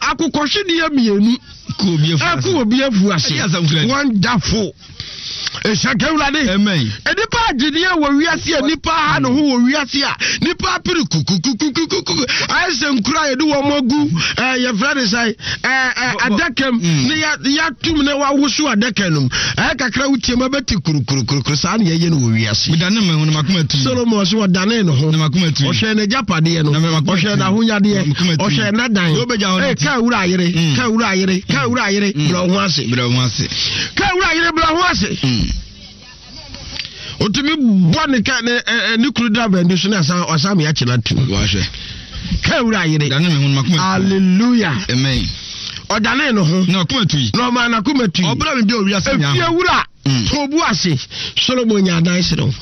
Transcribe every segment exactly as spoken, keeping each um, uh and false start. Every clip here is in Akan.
Akokɔhwedeɛ mmienu ɛko obi afu ase. Wonderful. Ɛhyɛ Awurade. Nnipa agyedeɛ wɔ wiase a nnipa ha ne ho wɔ wiase a nnipa apere kukukukukuku ayɛ sɛ nkura a yɛde wɔn agu ɛɛ yɛfrɛ ne sɛ ɛɛ ɛɛ adaka mu ne yɛatum ne wawoso adaka no mu ɛyɛ kakra wotie mu ɛbɛte kurukurukurukuru saa ne yɛyɛ no wɔ wiase. Solomon so ɔdane ne ho, ɔhwɛ n'agyapadeɛ no, ɔhwɛ n'ahonyadeɛ, ɔhwɛ n'adan. Ee, kaa wura ayere, kaa wura ayere, kaa wura ayere, brɛ ho ase, kaa wura ayere, brɛ ho ase. Otumi bɔ ne ka ne ɛ ne kuru driver ndi so ne asan ɔsan mi akyina tu. Kaa wura ayere. Hallelujah. Amen. Ɔdane ne ho. Na ɔkoma tui. Na ɔma n'akoma tui. Ɔbra mi bi owi ase nya. Efie wura. Tobu ase. Solomon nya adan serew.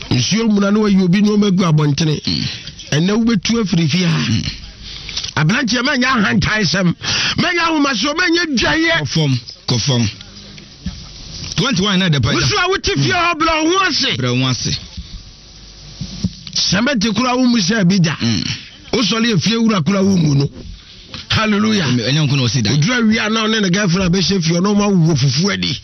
Nsuo muna na wayi obi nneɛma gu abɔntene. Ɛnɛ wobɛtu afiri fie ha. Aberanteɛ, mɛnyɛ ahantan sɛm, mɛnyɛ ahomasoɔ, mɛnyɛ dwaeɛ. Kɔ fam, kɔ fam. Twenty one na ɛdɛ pa. Wosu a wote fie hɔ, brɛ wo ho ase. Brɛ wo ho ase. Sɛmɛnte kora wo mu sɛ bi da. Wosɔre efie wura kora wo mu no. Hallelujah. Ɛnyɛ nko na ɔsi dan. Oduru awia na ɔne ne girlfriend abɛhyɛ fie, ɔno ɔmo awowɔ fufuo adi.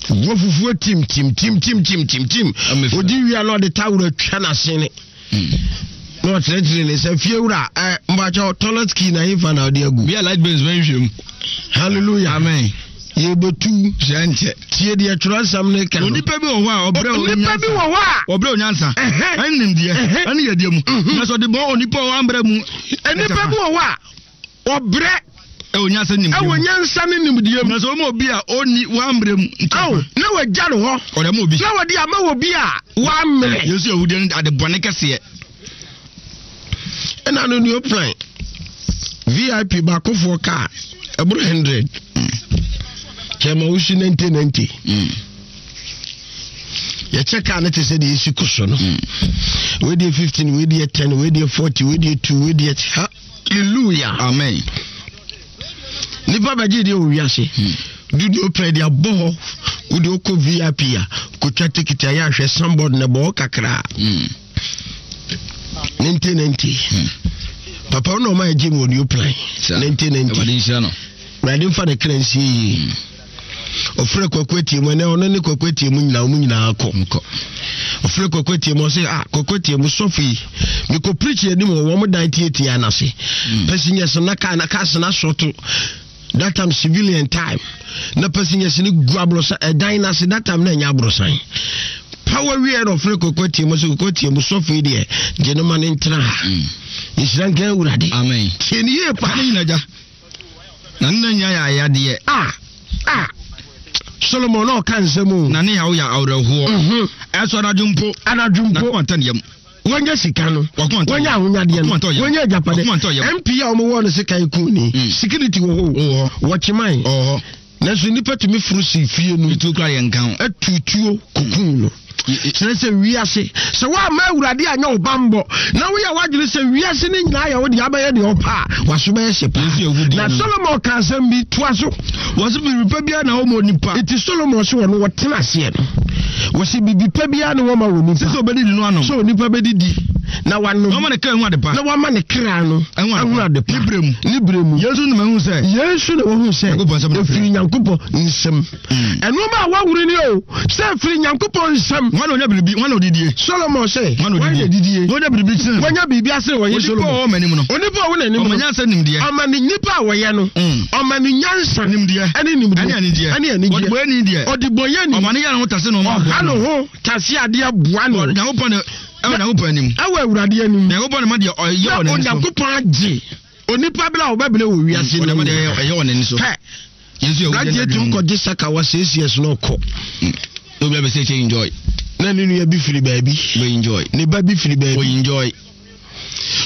Wɔ fufuo tim tim tim tim tim tim tim. Odi wia na ɔde tawuro atwa n'asene. Na ɔkyerɛkyerɛ ne sɛ, "Fie wura, ɛ mbakyɛw, toilet key na hefa na ɔde agu?" Bi a light bills bɛn hwɛ mu. Hallelujah. Amen. Yɛbɛtu. Hyɛ nkyɛ. Tie deɛ twerɛsɛm ne ka no. Onipa bi wɔ hɔ a ɔbrɛ. Onipa bi wɔ hɔ a ɔbrɛ onyansa ɛne nimdeɛ ɛne yɛdeɛ mu, na sɛ ɔde bɔ onipa a ɔambrɛ mu. Onipa bi wɔ hɔ a ɔbrɛ ɛwɔ nyansa ne nimdeɛ ɛwɔ nyansa ne nimdeɛ mu, na sɛ ɔma obi a ɔnni wambrɛ mu. Aw, na wagya no hɔ. Ɔde ama obi. Na wɔde ama wɔ bi a wammerɛ. Yesu ahudeɛ no ade bɔne kɛseɛ. Ɛna no new plan V I P baakofoɔ kaa ɛboro hundred kyɛma wosi ninety ninety. Yɛkyɛ kaa no te sɛ deɛ ɛsi ko so no, wei deɛ fifteen, wei deɛ ten, wei deɛ forty, wei deɛ two, wei deɛ. Hallelujah. Amen. Nipa bɛgye deɛ wɔ wiase dudu pɛ de abɔ hɔ. Wode wokɔ V I P a, kotwa ticket a, yɛ ahwɛ signboard na ɛbɔ hɔ kakraa ninety ninety. Papa wo na ɔma yɛgye mu wɔ new plan ninety ninety. Awurade nhyira no. Awurade mfa ne kra nsie yie. Ɔfrɛ Kwaku Atie mu, ɛnɛ ɔno ne Kwaku Atie mu nyinaa, ɔmu nyinaa kɔ. Nkɔ. Ɔfrɛ Kwaku Atie mu, ɔsɛ, "Ah, Kwaku Atie mu sɔfo yi, mekɔ preach anim wɔ wɔn dan tietia n'ase, passengers na kaa na cars na asɔto that time, civilian time, na passengers ne gu aborosan ɛdan n'ase. That time na ɛnyɛ aborosan power wie." Na ɔfrɛ Kwaku Atie mu sɛ, "Kwaku Atie mu sɔfo yi deɛ, gye ne ma ne ntena ha." Nhyira nka Awurade. Amen. Tie ne yie pa. Ne nyina gya na ne na nya yɛ ayadeɛ. Ah ah, Solomon na ɔka nsɛm o. Na ne yaw yɛ awerɛhoɔ. Mhm. Ɛsɔ anadwo mpo anadwo na mpo kɔma ntɛ ne yam. Wɔnyɛ sika no, Wakoma ntɔ wɔnyɛ yam. ahonyadeɛ no, Wakoma ntɔ yam. wɔnyɛ agyapade. Wakoma ntɔ yam. M P a wɔwɔ no sika kun ni. Mm. Security wɔ hɔ. Wɔ hɔ. Wɔkyeman. Ɔwɔ hɔ. Nanso nnipa tumi foro si fie no. Etu kura yɛ nka ho. Atutuo kokun no. Kyerɛ sɛ wiase, sɛ woamma Awurade anyɛ wo bammɔ na woyɛ w'adwene sɛ wiase no nyinaa yɛ wo deɛ, abɛyɛ deɛ ɔpa a, waso bɛyɛ hye paa. Yesu ahudeɛ Na no. Solomon ka asɛm bi toa so. Wɔsi biribi pa biara na wɔma onipa. Nti Solomon so wɔ no wɔtena aseɛ no, wɔsɛ biribi pa biara ne wɔma wɔ nipa sɛ sɛ ɔbɛdidi no anom. Sɛ onipa bɛdidi na wanom. Na ɔma ne kra hu ade pa. Na wama ne kra no ɛho ahu ade pa. Ne berɛ mu. Ne berɛ mu. Yesu no mahu sɛ Yesu na wahu sɛ Nyankopɔn nsɛm na ɛfiri Nyankopɔn nsɛm. Mm. Ɛnoɔma a waworo ni o, sɛ ɛfiri Nyankopɔn nsɛm. Wɔn na onya biribi, wɔn na odidie. Solomon sɛ wɔn na wɔn na odidie. didie. Wɔn nya biribi kyerɛ. Wɔnya biribi ase wɔyɛ onipa a Solomon ɔwɔ m'anim no. Onipa a ɔwɔ n'anim ɔma no nyansa nimdeɛ. Ɔma ne nipa a wɔyɛ no. Mm. Ɔma ne nyansa nimdeɛ. Ɛne nimdeɛ. Ɛne anigyeɛ. Ɛne anigyeɛ. Ɔde bɔyɛ ni deɛ. Ɔde bɔyɛ ni. Ɔma ne yɛ ne ho tase na ɔma ɔha ne ho tase adeɛ boa no. Nyankopɔn ne ɛwɔ Nyankopɔn anim. Ɛwɔ Awurade anim. Nyankopɔn ne ma deɛ ɔyɛ na wɔ n'ani so. Onyankopɔn agye onipa bere a wɔbɛbrɛ wɔ wiase ɔde no ma deɛ ɛyɛ wɔ n'ani so. Hɛ. Yesu yɛ aberanteɛ tumi kɔgye saka wɔ six years na ɔkɔ. Obi abɛsɛ kyɛ enjoy. Na ne nua bi firi baabi. Bɛ enjoy. Ne ba bi firi o baabi. Enjoy.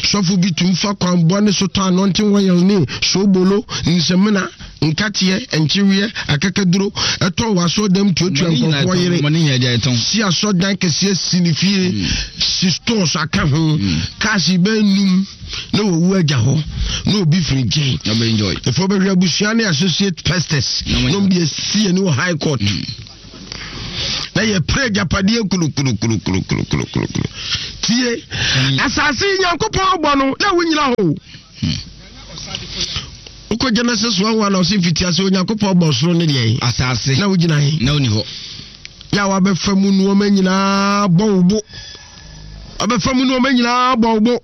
Sɔfo bi tum fa kwan bɔne so tɔ anointing oil ne soobolo, nsɛmina, nkateɛ, nkyeweɛ, akakaduro, ɛtɔn wɔ asɔɔdam, tuatua nkurɔfoɔ yere. Mɔne nyɛ agya ɛtɔn. Si asɔdan kɛseɛ si ne fie, si stores aka ho, cars bɛɛ num, na wɔwu agya hɔ na obi firi nkyɛn. Na bɛ enjoy. Ɛfɔ bɛhwɛ abusua ne associate pastors Na wɔn- na ɔmo de asi ani wɔ high court na yɛpere agyapadeɛ kulukulukulukulukulu. Tie. Asase yi Nyankopɔn bɔ no na wonyina hɔ. Wokɔ Genesis one one na ɔse mfitiase Onyankopɔn bɔ soro ne deɛ. Asase. Na wogyina he? Na woni hɔ. Yɛ a wabɛfa mu nneɛma nyinaa bɔ wo bo. Wabɛfa mu nneɛma nyinaa bɔ wo bo.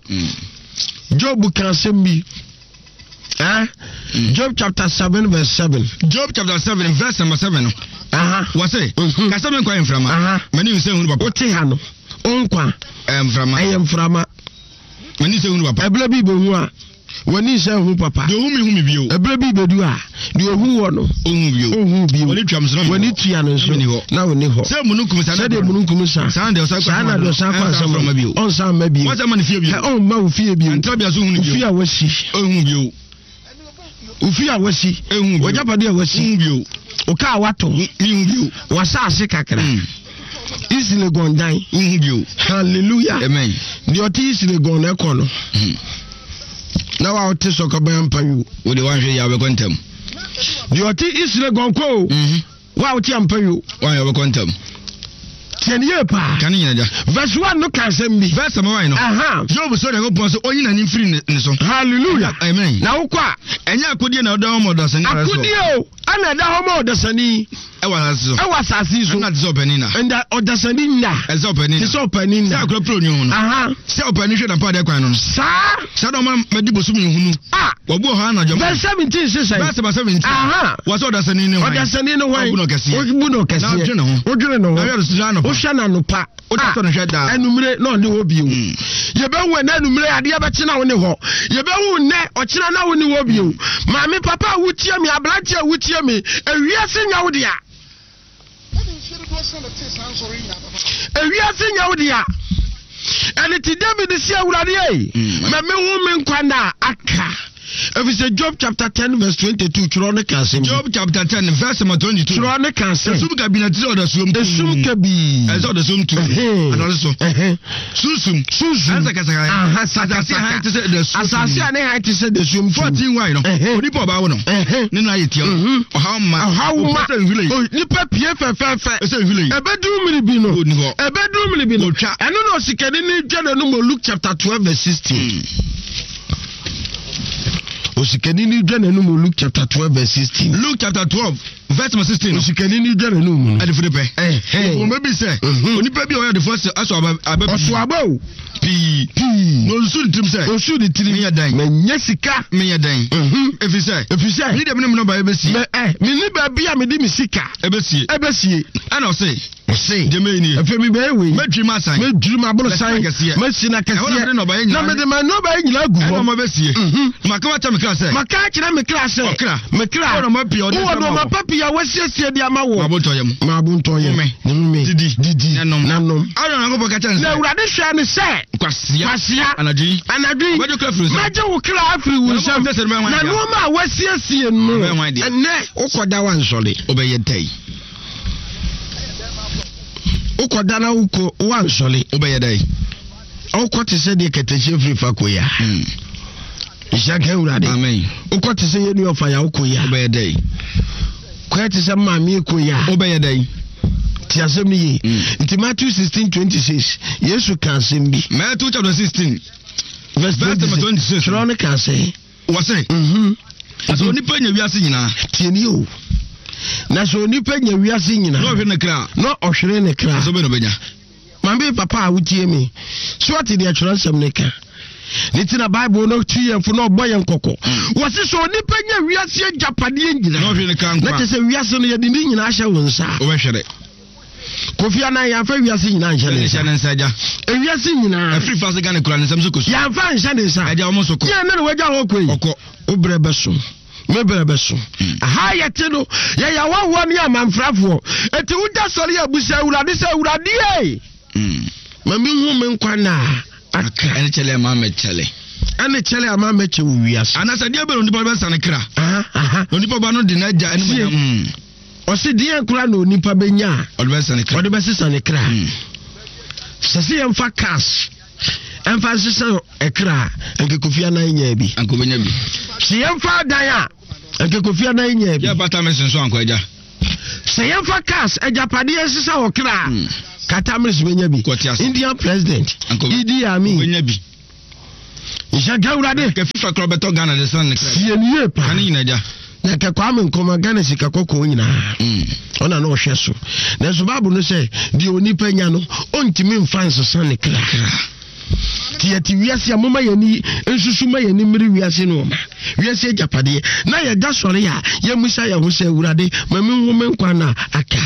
Job ka asɛm bi. Eh? Mm. Job chapter seven verse seven. Job chapter seven verse number seven. Aha. Wɔse, kasa me nkwa yɛ mframa. Aha. M'ani nsɛ hunu papa. Wote ha no, wo nkwa. Ɛyɛ mframa. Ɛyɛ mframa. M'ani nsɛ hunu papa. Ɛberɛ bi bɛhu a, w'ani nsɛ hu papa. Deɛ ohu mi hu mi bio. Ɛberɛ bi bɛdu a, deɛ ohu wɔ no. Ohu bio. Ohu bio. W'ani tua nso na w'ani tua no nso na w'ani hɔ. Sɛ mununkum sa. Sɛdeɛ mununkum sa. Saa na deɛ ɔsan kɔ. Saa na deɛ ɔsan kɔ asɛm bio. Ɔnsan mma bio. Wɔn sɛ ma ne fie bio. Ɔmma wo fie bio. Ntrabea so hu ne bio. Ofie a wasi. Ohu bio. Ofie a wasi. Ehu bio. W'agyapadeɛ a wasi. Ohu bio. Wo kaa watɔ. Mihu bio. W'asaase kakra. East Legon dan. Ohu bio. Hallelujah. Amen. Deɛ ɔte East Legon na ɛkɔ no. Na wa ɔte sɔkɔbɛn mpa yi o. Wo de wanhwɛ yɛ abɛkɔ ntɛm. Deɛ ɔte East Legon kɔ o. Wa ɔte ampa yi o. Wanhwɛ abɛkɔ ntɛm. Tiɛ ni yie paa. Kane nyina gya. Verse one no ka asɛm bi. Verse number one no. Aha. Job sɔ Nyankopɔn sɛ ɔnyi n'ani mfiri ne so. Hallelujah. Amen. Na wokɔ a. Ɛnyɛ akodie na ɔda hɔ ma ɔdasani. Akodie o ɛna ɛda hɔ ma ɔdasani. Ɛwɔ asase so. Ɛwɔ asase so. Ɛna te sɛ ɔpanin na. Ɛnda ɔdasani nna. Ɛsɛ ɔpanin na. Te sɛ ɔpanin na. Sɛ akora pere onwi ho no. Aha. Sɛ ɔpanin hwɛ n'ampadeɛ kwan no no. Saa. Saa na ɔma madi bosom nhunu. Ah. Wɔbu ɔha anadwo. Verse seventeen sisan. Verse seventeen. Aha. Wɔsɛ ɔdasani ne hwan. Ɔdasani ne hwan. Ɔbu no kɛseɛ. Ɔbu no kɛseɛ. Na ɔdwene ne ho. Ɔdwene ne ho. Na ɔhwɛ n'anopa. Anumere na ɔne hɔ bio. Yɛbɛhu ɛnɛ anumere adeɛ bɛkye na wo ne hɔ. Yɛbɛhu nnɛ ɔkyena na wo ne hɔ bio. Maame papa a wotie me, aberante a wotie me, ewiase nya wo dea. Ewiase nya wo dea. Ɛne ti David si Awurade ei, ma mehu me nkwa nna aka. Efisɛ Job chapter ten verse twenty-two twerɛ ne ka asɛm. Job chapter ten verse number twenty-two. Twerɛ ne ka asɛm. Esum kabii na ti sɛ ɔdasuom tu. Esum kabii. Ɛsɛ ɔdasuom tu. Anɔre so. Sunsum. Sunsum. Ɛsɛ Aha sakasaka. Asase a han te sɛ dasuom. Asase a ne han te sɛ dasuom tu. Fourteen wine no. Onipa ɔbaa wo no. Ne nan yɛ tia. Ɔhaw ma. Ɔhaw ma. Ɛsɛ nhwile. Nipa pie fɛfɛɛfɛ. Ɛsɛ nhwile. Ɛbɛduru mmiri bi no. Oni hɔ. Ɛbɛduru mmiri bi no. Otwa. Ɛno na osikani ne dwa n'anum wɔ Luke chapter twelve verse sixteen. Osikani ni dwa n'anum wɔ Luke chapter twelve verse sixteen. Luke chapter twelve verse sixteen. Osikani ni dwa n'anum no. Adefo de pɛ. Wɔn bɛ bi sɛ. Onipa bi a ɔyɛ adefo aso aba aba pii. Ɔso aba o. Pii. Pii. Na osusu ne tirim sɛ. Osusu ne tirim. Meyɛ dɛn. Mɛ nye sika. Meyɛ dɛn. Efi sɛ. Efi sɛ. Mi de mi ne mi nɔba ebesie. Mɛ ɛ mi ni baabi a mi di mi sika. Ebesie. Ebesie. Ɛna ɔse. Ɔse. Deɛ mɛyɛ nie. Efe mi bɛyɛ wei. Mɛdwiri ma asan. Mɛdwiri ma abolo san. Mɛsi na kɛseɛ. Na mede ma nɔba yi nyinaa gu hɔ. Ɛna ɔma bɛsie. Maka wakyɛ me kra sɛ. Maka akyerɛ me kra sɛ. Ɔkra. Me kra. Wɔ nɔɔma pii a ɔde Wɔ nɔɔma pa pii a wɔasiesie de ama wɔ. Ma abo ntɔ yam. Ma abo ntɔ yam. Home. Home. Didi. Didi. Nanom. Nanom. Aaron Nyankopɔn ka kyerɛ ne sɛ. Na Awurade hwɛ ne sɛ. Kwasia. Kwasia. Anadwo yi. Anadwo yi. Mɛgye wo kra afiri wo nsam. Mɛgye wo kra afiri wo nsam. Na nneɛma a wɔasiesie no. Ɛnɛ wokɔda wansɔre. Wobɛyɛ dɛn? Wokɔda na wokɔ wansɔre. Wobɛyɛ dɛn? Wokɔ te sɛ deɛ kɛtɛhyɛ firi fa kɔ ya. Nhyira nka Awurade. Amen. Wokɔ te sɛ yɛn ɔfa ya wokɔ ya. Wobɛyɛ dɛn? Kɔyɛ te sɛ maame kɔ ya. Wobɛyɛ dɛn? Ti asɛm no yie. Nti Matthew sixteen twenty six Yesu ka asɛm bi. Matthew chapter sixteen verse twenty six. Twerɛ no ka sɛ. Wɔsɛ. Sɛ onipa nya wiase nyinaa. Tie ni o. Na sɛ onipa nya wiase nyinaa. Na ɔhwere ne kra. Na ɔhwere ne kra. Sɛ ɔbɛn na ɔbɛnya. Maame papa a wotie mi. So ɔte deɛ twerɛ nsɛm ne ka. Ne ti na Bible no tu yɛn fo na ɔbɔ yɛn kɔkɔ. Wɔsi sɛ onipa nya wiase agyapadeɛ nyinaa. Na ɔhwere ne kra nkwa. Na kyerɛ sɛ wiase no yɛde ne nyinaa ahyɛ wo nsa. Wobɛhwere. Kofi Annan yɛamfa wiase nyinaa nhyɛ ne nsa. Nhyɛ ne nsa agya. Ewiase nyinaa. Afiri fa se Ghana kura ne nsam so kɔsu. Yɛamfa nhyɛ ne nsa. Agya wɔn nso kɔ. Yɛn ne na wagya hɔ kɔ yi. Ɔkɔ. Wo brɛ bɛso. Me brɛ bɛso. Aha yɛte no yɛyɛ ahɔhoɔ ne amanfrafoɔ. Eti wogya sɔre abusa Awurade sɛ Awurade ei. Ma mehu me nkwa na aka. Ɛne kyɛlɛ ama mɛkyɛlɛ. Ɛne kyɛlɛ ama mɛkyɛ wɔ wiase. Anasɛ deɛ bɛn onipa bɛsa ne kra. Aha aha. Onipa ba no de n'agya ɛne Tie. Ɔsi deɛ kora na onipa bɛnya a. Ɔde bɛsesa ne kra. Ɔde bɛsesa ne kra. Sɛ sɛ yɛmfa cash ɛmfa nsesa ɛkra a nka Kofi Annan nyaa bi. Anka obɛnya bi. Sɛ yɛmfa adan a nka Kofi Annan nyaa bi. Yɛ bata mɛsen so ankɔ agya. Sɛ yɛmfa cash agyapadeɛ nsesa wɔ kra a Carter Mills bɛnya bi. Indian president Idi Amin bɛnya bi. Nhyɛ nka Awurade. Nka FIFA kora bɛtɔ Ghana de san ne kra. Sie ne yie paa. Kane nyina gya. Na nka Kwame Nkrumah Ghana sika kɔkɔɔ nyinaa. Mm. Ɔna na ɔhwɛ so. Nanso Bible no sɛ deɛ onipa nya no ɔntumi mfa nsesa ne kra. Nti yɛte wiase a moma yɛni nsusu ma yɛni mmere wiase no ɔma wiase agyapadeɛ na yɛda sɔre a yɛmmisa yɛn ho sɛ Awurade ma menhu me nkwa na aka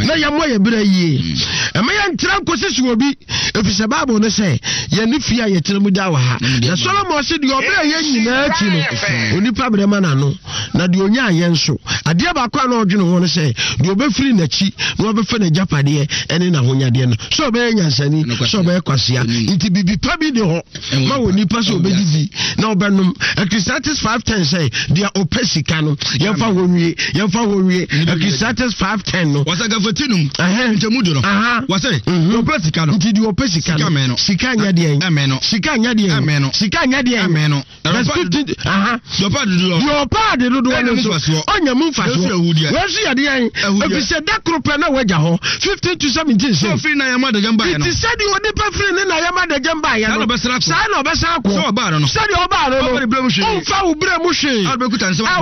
na yɛmmɔ yɛ berɛ yie. Ɛma yɛntra nkɔsi so obi ɛfiri sɛ Bible no sɛ yɛne fie a yɛtena mu da wɔ ha. Na Solomon se deɛ ɔbrɛ yɛ nyinaa akyi no onipa brɛ ma n'ano na deɛ ɔnya ayɛ nso adeɛ baako a na ɔdwene ho no sɛ deɛ ɔbɛfiri n'akyi na ɔbɛfa n'agyapadeɛ ɛne n'ahonyadeɛ no sɛ ɔbɛyɛ nyansani sɛ ɔbɛyɛ kwasea. Nti biribi pa bi ne hɔ ma wɔ nipa sɛ ɔbɛdidi na ɔbɛnom. Ecclesiastes five ten sɛ deɛ ɔpɛ sika no yɛmfa hɔ nwie yɛmfa hɔ nwie. Ecclesiastes five ten no wɔsɛ gafati num nkyɛmu du no wɔsɛ deɛ ɔpɛ sika no nti deɛ ɔpɛ sika no sika nyɛ deɛ sika nyɛ deɛ sika nyɛ deɛ verse fifteen aha deɛ ɔpɛ ade dodoɔ no nso ɔnya mu mfasoɔ wɔn nso yɛ deɛ efisɛ da koro pɛ na wɔagya hɔ fifteen to seventeen sɛ ɔfiri na yɛn adagyam baayɛ no nti sɛdeɛ onipa firi ne na yɛn adagyam baayɛ no saa na ɔbɛsan akɔ sɛ ɔbaa no no sɛdeɛ ɔbaa no no ɔnfa wo berɛ mu hwee a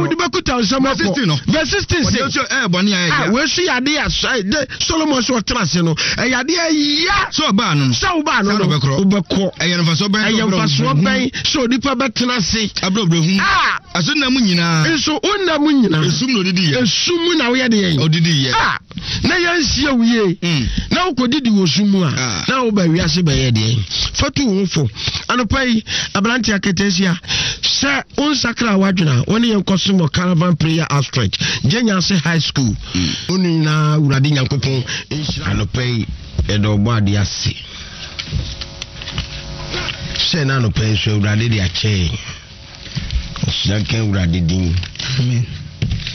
wode bɛkuta nsɛm akɔ verse sixteen sɛ a wɔn yɛ adeɛ a de Solomon sɛ ɔtena ase no ɛyɛ adeɛ ya sɛ ɔbaa no no sɛ ɔbaa no no wobɛkɔ ɛyɛ mfasoɔ bɛn ɛyɛ mfasoɔ bɛn sɛ onipa bɛtena ase abrɛbrɛ a ɛso nna mu nyinaa nso wonna mu nyinaa esum na odidi yɛ esum mu na woyɛ deɛ odidi yɛ a na yɛnsie wo yie na wokɔdidi wɔ sum mu a na woba wiase bɛyɛ deɛ fatu wo ho fo. Anɔpa yi aberante aketesia sɛ wonsakra w'adwene a wɔne yɛn kɔsom wɔ Caravan Prayer Outstretch Gyenyase High School. Wo no nyinaa Awurade Nyankopɔn nhyira. Anɔpa yi yɛde ɔbɔ adeɛ ase sɛ na anɔpa yi nso Awurade de akyɛ yɛn. Nhyira nka Awurade din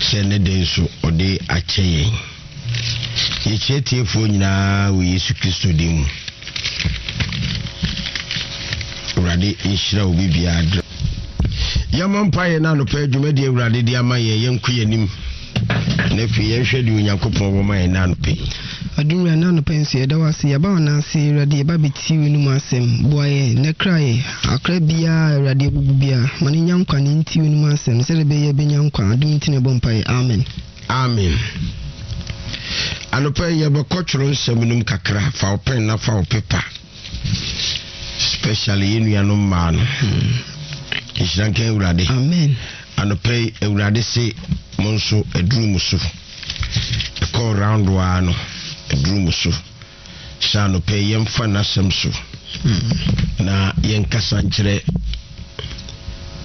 sɛ ne de nso ɔde akyɛ yɛn. Yɛkyerɛ tiefoɔ nyinaa wɔ Yesu Kristo din mu. Awurade nhyira obi biara dra. Yɛmmɔ mpaeɛ na anɔpa adwumadi Awurade de ama yɛn yɛnkɔ yɛn anim. Na afei yɛnhwɛ deɛ Onyankopɔn wɔ ma yɛn na anɔpa yi. Adumra na anɔpa nso yɛda wo ase yɛba wo nan ase Awurade yɛba bɛtie w'anom asɛm boa yɛn na kra yɛ akra biara Awurade abubu biara ma ne nya nkwa ne nti w'anom asɛm sɛdeɛ ɛbɛyɛ bɛnya nkwa adom nti na ɛbɔ mpaeɛ. Amen. Amen. Anɔpa yi yɛbɛkɔ twerɛ nsɛm no mu kakra. Fa wo pen na fa wo paper. Especially yɛn nuanom mmaa no. Nhyira nka Awurade. Amen. Anɔpa yi Awurade se mo nso aduru mo so. Ɛkɔɔ round waa no aduru mo so. Sɛ anɔpa yi yɛmfa n'asɛm so na yɛnkasa nkyerɛ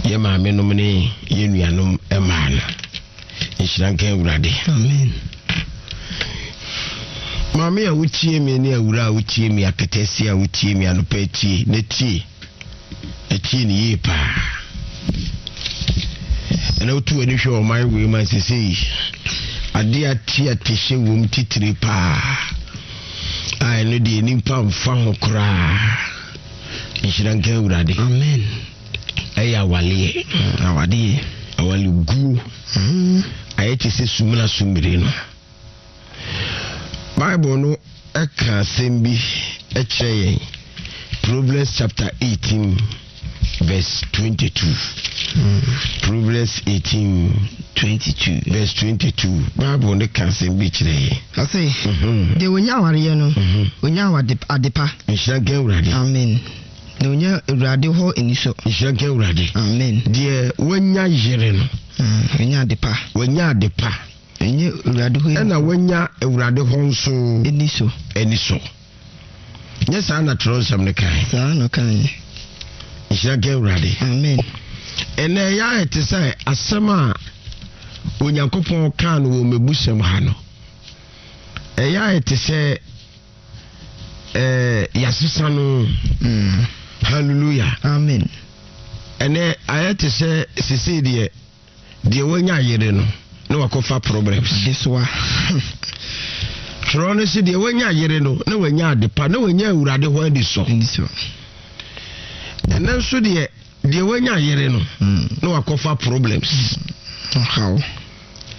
yɛ maame nom ne yɛn nuanom mmaa no. Nhyira nka Awurade. Amen. Maame a wotie me ne awura a wotie me akatasi a wotie me anɔpa tie na tie na tie ne yie paa. Ɛna wotu w'ani hwɛ ɔman wei ma sesei adeɛ ate atehyɛ wom titiri paa a ɛno deɛ nipa mfa ho koraa. Nhyira nka Awurade. Amen. Ɛyɛ awaleɛ. Awadeɛ. Awaleguo. Ayɛ te sɛ sumina sumire no. Bible no ɛka asɛm bi ɛkyerɛ yɛn. Proverbs chapter eighteen verse twenty-two. Proverbs eighteen twenty-two verse twenty-two. Bible no ka asɛm bi kyerɛ yɛn. Ɔse deɛ onya awareɛ no onya adepa. Nhyira nka Awurade. Amen. Na onya Awurade hɔ anisɔ. Nhyira nka Awurade. Amen. Deɛ wanya yere no onya adepa. Wanya adepa. Ɛnyɛ Awurade hɔ ɛna wanya Awurade hɔ nso anisɔ. Anisɔ. Nyɛ saa na twerɛ nsɛm no kae. Saa na kae. Nhyira nka Awurade. Amen. Ɛnɛ ɛyɛ ayɛ te sɛ asɛm a Onyankopɔn kaa no wɔ mmebusɛm ha no. Ɛyɛ ayɛ te sɛ ɛɛ yɛasesa no. Hallelujah. Amen. Ɛnɛ ayɛ te sɛ sesei deɛ deɛ wanya yere no na wakɔfa problems. Adesoa. Twerɛ no sɛ deɛ wanya yere no na wanya adepa na wanya Awurade hɔ anisɔ. Anisɔ. Ɛnɛ nso deɛ deɛ wanya yere no na wakɔfa problems. Ɔhaw.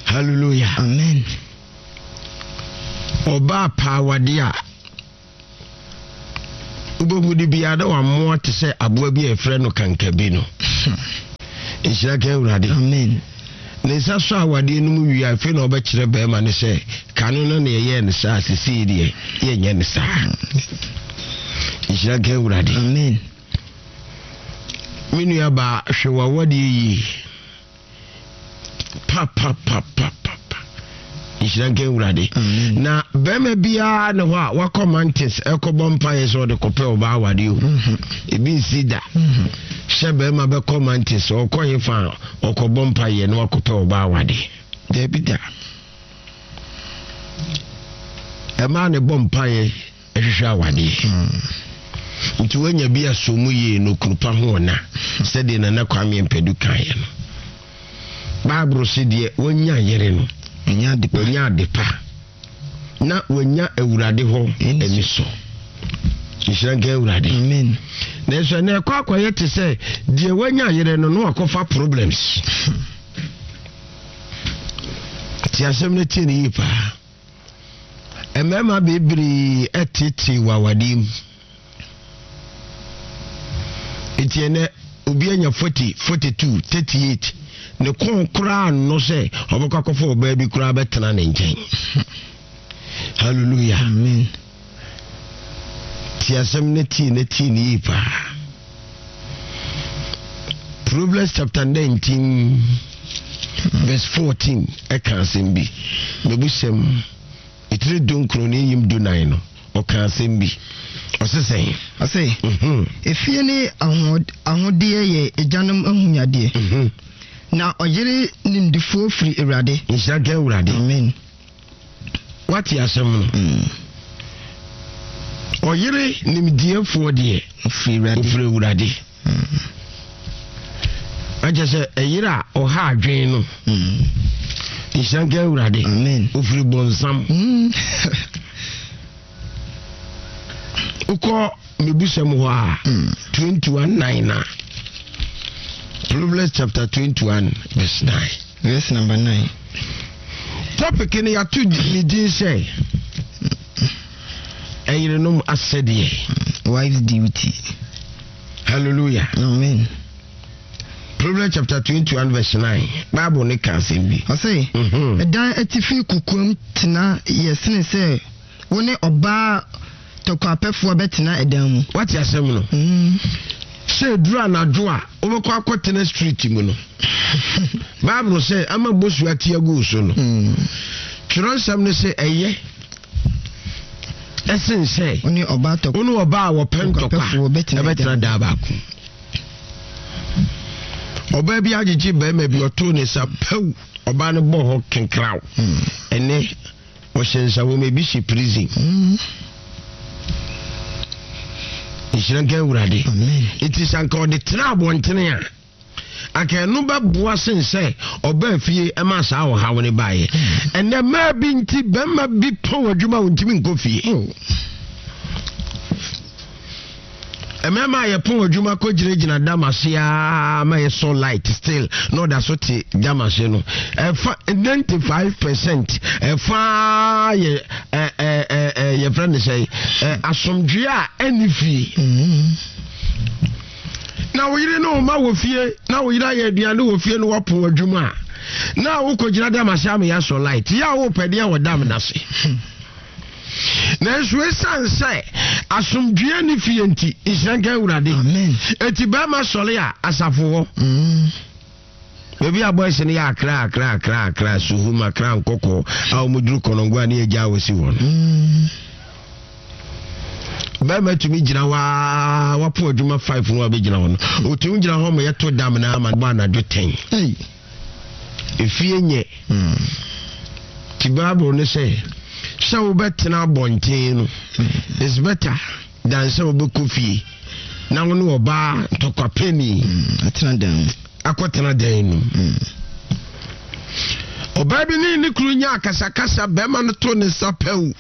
Hallelujah. Amen. Ɔbaa paa wade a Wobɛhu de biara na wammoa te sɛ aboa bi a yɛfrɛ no kankabi no. Nhyira ka Awurade. Amen. Ne nsa sɔ awadeɛ no mu wie a, afei na ɔbɛkyerɛ bɛrima no sɛ kane no na yɛyɛɛ no saa, sesei deɛ yɛnyɛ no saa. Nhyira ka Awurade. Amen. Me nua baa, hwɛ w'awadeɛ yie papapapapa. Nhyira nka Awurade. Na bɛrima biara ne hɔ a wakɔ mountains ɛkɔbɔ mpaeɛ sɛ ɔde kɔpɛ ɔbaa awadeɛ o. Mhm. Ebi nsi da. Mhm. Sɛ bɛrima bɛkɔ mountains ɔkɔ he fa a ɔkɔbɔ mpaeɛ na wakɔpɛ ɔbaa awadeɛ. Daabi da. Ɛmaa ne bɔ mpaeɛ ɛhwehwɛ awadeɛ. Mm. Nti woanya bi asɔ mu yie no kunu pa ho ɔna sɛdeɛ Nana Kwame Mpadu kaeɛ no. Bible se deɛ wanya yere no Wanya ade pa. wanya ade pa na wanya Awurade hɔ ani sɔ. Nhyira nka Awurade. Amen. Nanso ɛnɛ ɛkɔ akɔyɛ te sɛ deɛ wanya yere no na wakɔfa problems. Te asɛm no tie no yie paa. Mmarima bebree ɛtete wɔ awadeɛ mu. Nti ɛnɛ obi anya forty, forty two, thirty eight ne kɔn koraa nnɔ sɛ ɔbɛkɔ akɔfa ɔbaa bi koraa bɛtena ne nkyɛn. Hallelujah. Amen. Ti asɛm no tie ne tie ne yie paa. Proverbs chapter nineteen verse fourteen ɛka asɛm bi. Mebusɛm etire dunkron ne eyim dunan no ɔka asɛm bi. Ɔse sɛn? Ɔse, Mhm. efie ne ahoɔd- ahodeɛ yɛ agyanom ahonyadeɛ. Mhm. Na ɔyere nimdifoɔ firi Awurade. Nhyira nka Awurade. Amen. Wate asɛm no. Mm. Ɔyere nimdeɛfoɔ deɛ Ofiri Awurade. ofiri Awurade. Akyɛ sɛ ɛyere a ɔha adwen no. Mm. Nhyira nka Awurade. Amen. Ofiri bɔnsam. Mm. Wokɔ mebusɛm hɔ a Mm. twenty-one nine na Proverbs chapter twenty-one verse nine. Verse number nine. Topic no yɛato ne din sɛ ɛyerenom asɛdeɛ. Wife's duty. Hallelujah. Amen. Proverbs chapter twenty-one verse nine. Bible ne ka asɛm bi. Ɔse, Mhm. ɛdan atifi kokoam tena yɛ sene sɛ wo ne ɔbaa tɔkwapɛfoɔ bɛtena ɛdan mu. Wate asɛm no? Mm. Sɛ eduru anadwo a wobɛkɔ akɔtena street mu no. Bible sɛ ama bosu ate agu so no. Mm. Twerɛnsɛm no sɛ ɛyɛ ɛsen sɛ Wo ne ɔbaa tɔ wo ne ɔbaa a wɔpɛ ntɔkwa Ntɔkwapɛfoɔ bɛtena ɛbɛtena daa baako. Ɔbaa bi agyegye bɛrima bi ɔtoo ne nsa pɛw ɔbaa no bɔ hɔ kenkraw. Mm. Ɛnɛ ɔhyɛ nsawom ebi hyɛ prison. Mm. Nhyira nka Awurade. Amen. Nti sɛ anka ɔde tena abɔntene a anka ɛno bɛboa sen sɛ ɔbaa fie ɛma saa ɔhaw ne baeɛ. Ɛnɛ mmaa bi nti bɛrima bi pɔn adwuma a ɔntumi nkɔ fie. Oh. Mmarima a yɛpɔn adwuma kɔ gyinagyina dam ase aa ma yɛsɔ light still na ɔda so te dam ase no ɛfa ninety five percent ɛfa yɛ ɛ ɛ ɛ ɛ yɛfrɛ no sɛ ɛ asomdwe a ɛne fie. Mm. Na wo yere ne wo ma wɔ fie na wo yere ayɛ aduane wɔ fie no wɔpɔn adwuma a na wokɔgyina dam ase ama yɛasɔ light yɛ a wopɛ deɛ wɔ dam n'ase. Nanso ɛsiane sɛ asomdwoeɛ ne fie nti nhyira nka Awurade. Amen. Eti bɛrima sɔre a asafo hɔ. Mm. Baabi a boys no yɛ akra akra akra akra suhum akra nkɔkɔ a wɔn duru kɔnɔngo a ne yɛ gya wɔ si hɔ no. Mm. Bɛrima tumi gyina hɔ aa wapo adwuma five no a bɛgyina hɔ no. Otumi gyina hɔ ma yɛto dam na ama bɔ anadwo ten. Hey. Efie nyɛ. Mm. Ti Bible ne sɛ sɛ wobɛtena abɔnten no is better than sɛ wobɛkɔ fie na wo ne ɔbaa ntɔkwapɛni Mm. Atena dan mu. akɔtena dan no mu. Mm. Ɔbaa bi ne ne kunu nya akasakasa bɛrima no to ne nsa pɛw.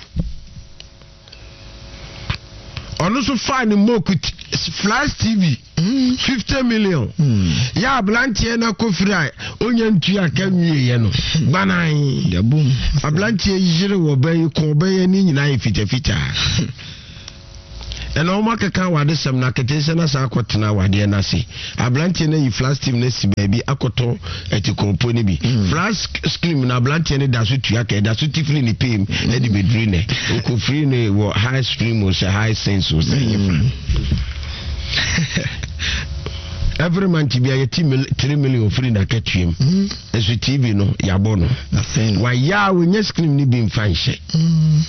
Ɔno nso faa ne moku flash T V Mm. fifty million. Mm. Yɛ aberanteɛ no akɔfiri a ɔnya ntua ka nwieɛ no gbanan. Dabom. Aberanteɛ yere wɔ bɛyi kɔn bɛyɛ ne nyinaa yɛ fitafitaa. Ɛna wɔn akeka awadesɛm na aketesia no asan akɔtena awadeɛ no ase. Aberanteɛ no ayi flat steam no asi baabi akɔtɔ atikɔnpo no bi. Mm. Flat screen no aberanteɛ no da so tua ka, ɛda so ti firi ne pay mu ɛde bɛduru nɛ. Ɔkɔfiri no wɔ high stream o sɛ high sense o sɛ ɛnyɛ fa. Mm. Every month bi a yɛti three million firi n'akatua mu. Mm. Nso T V no yɛabɔ no. Wayɛ a wɔnya screen no bi mfa nhyɛ. Mm.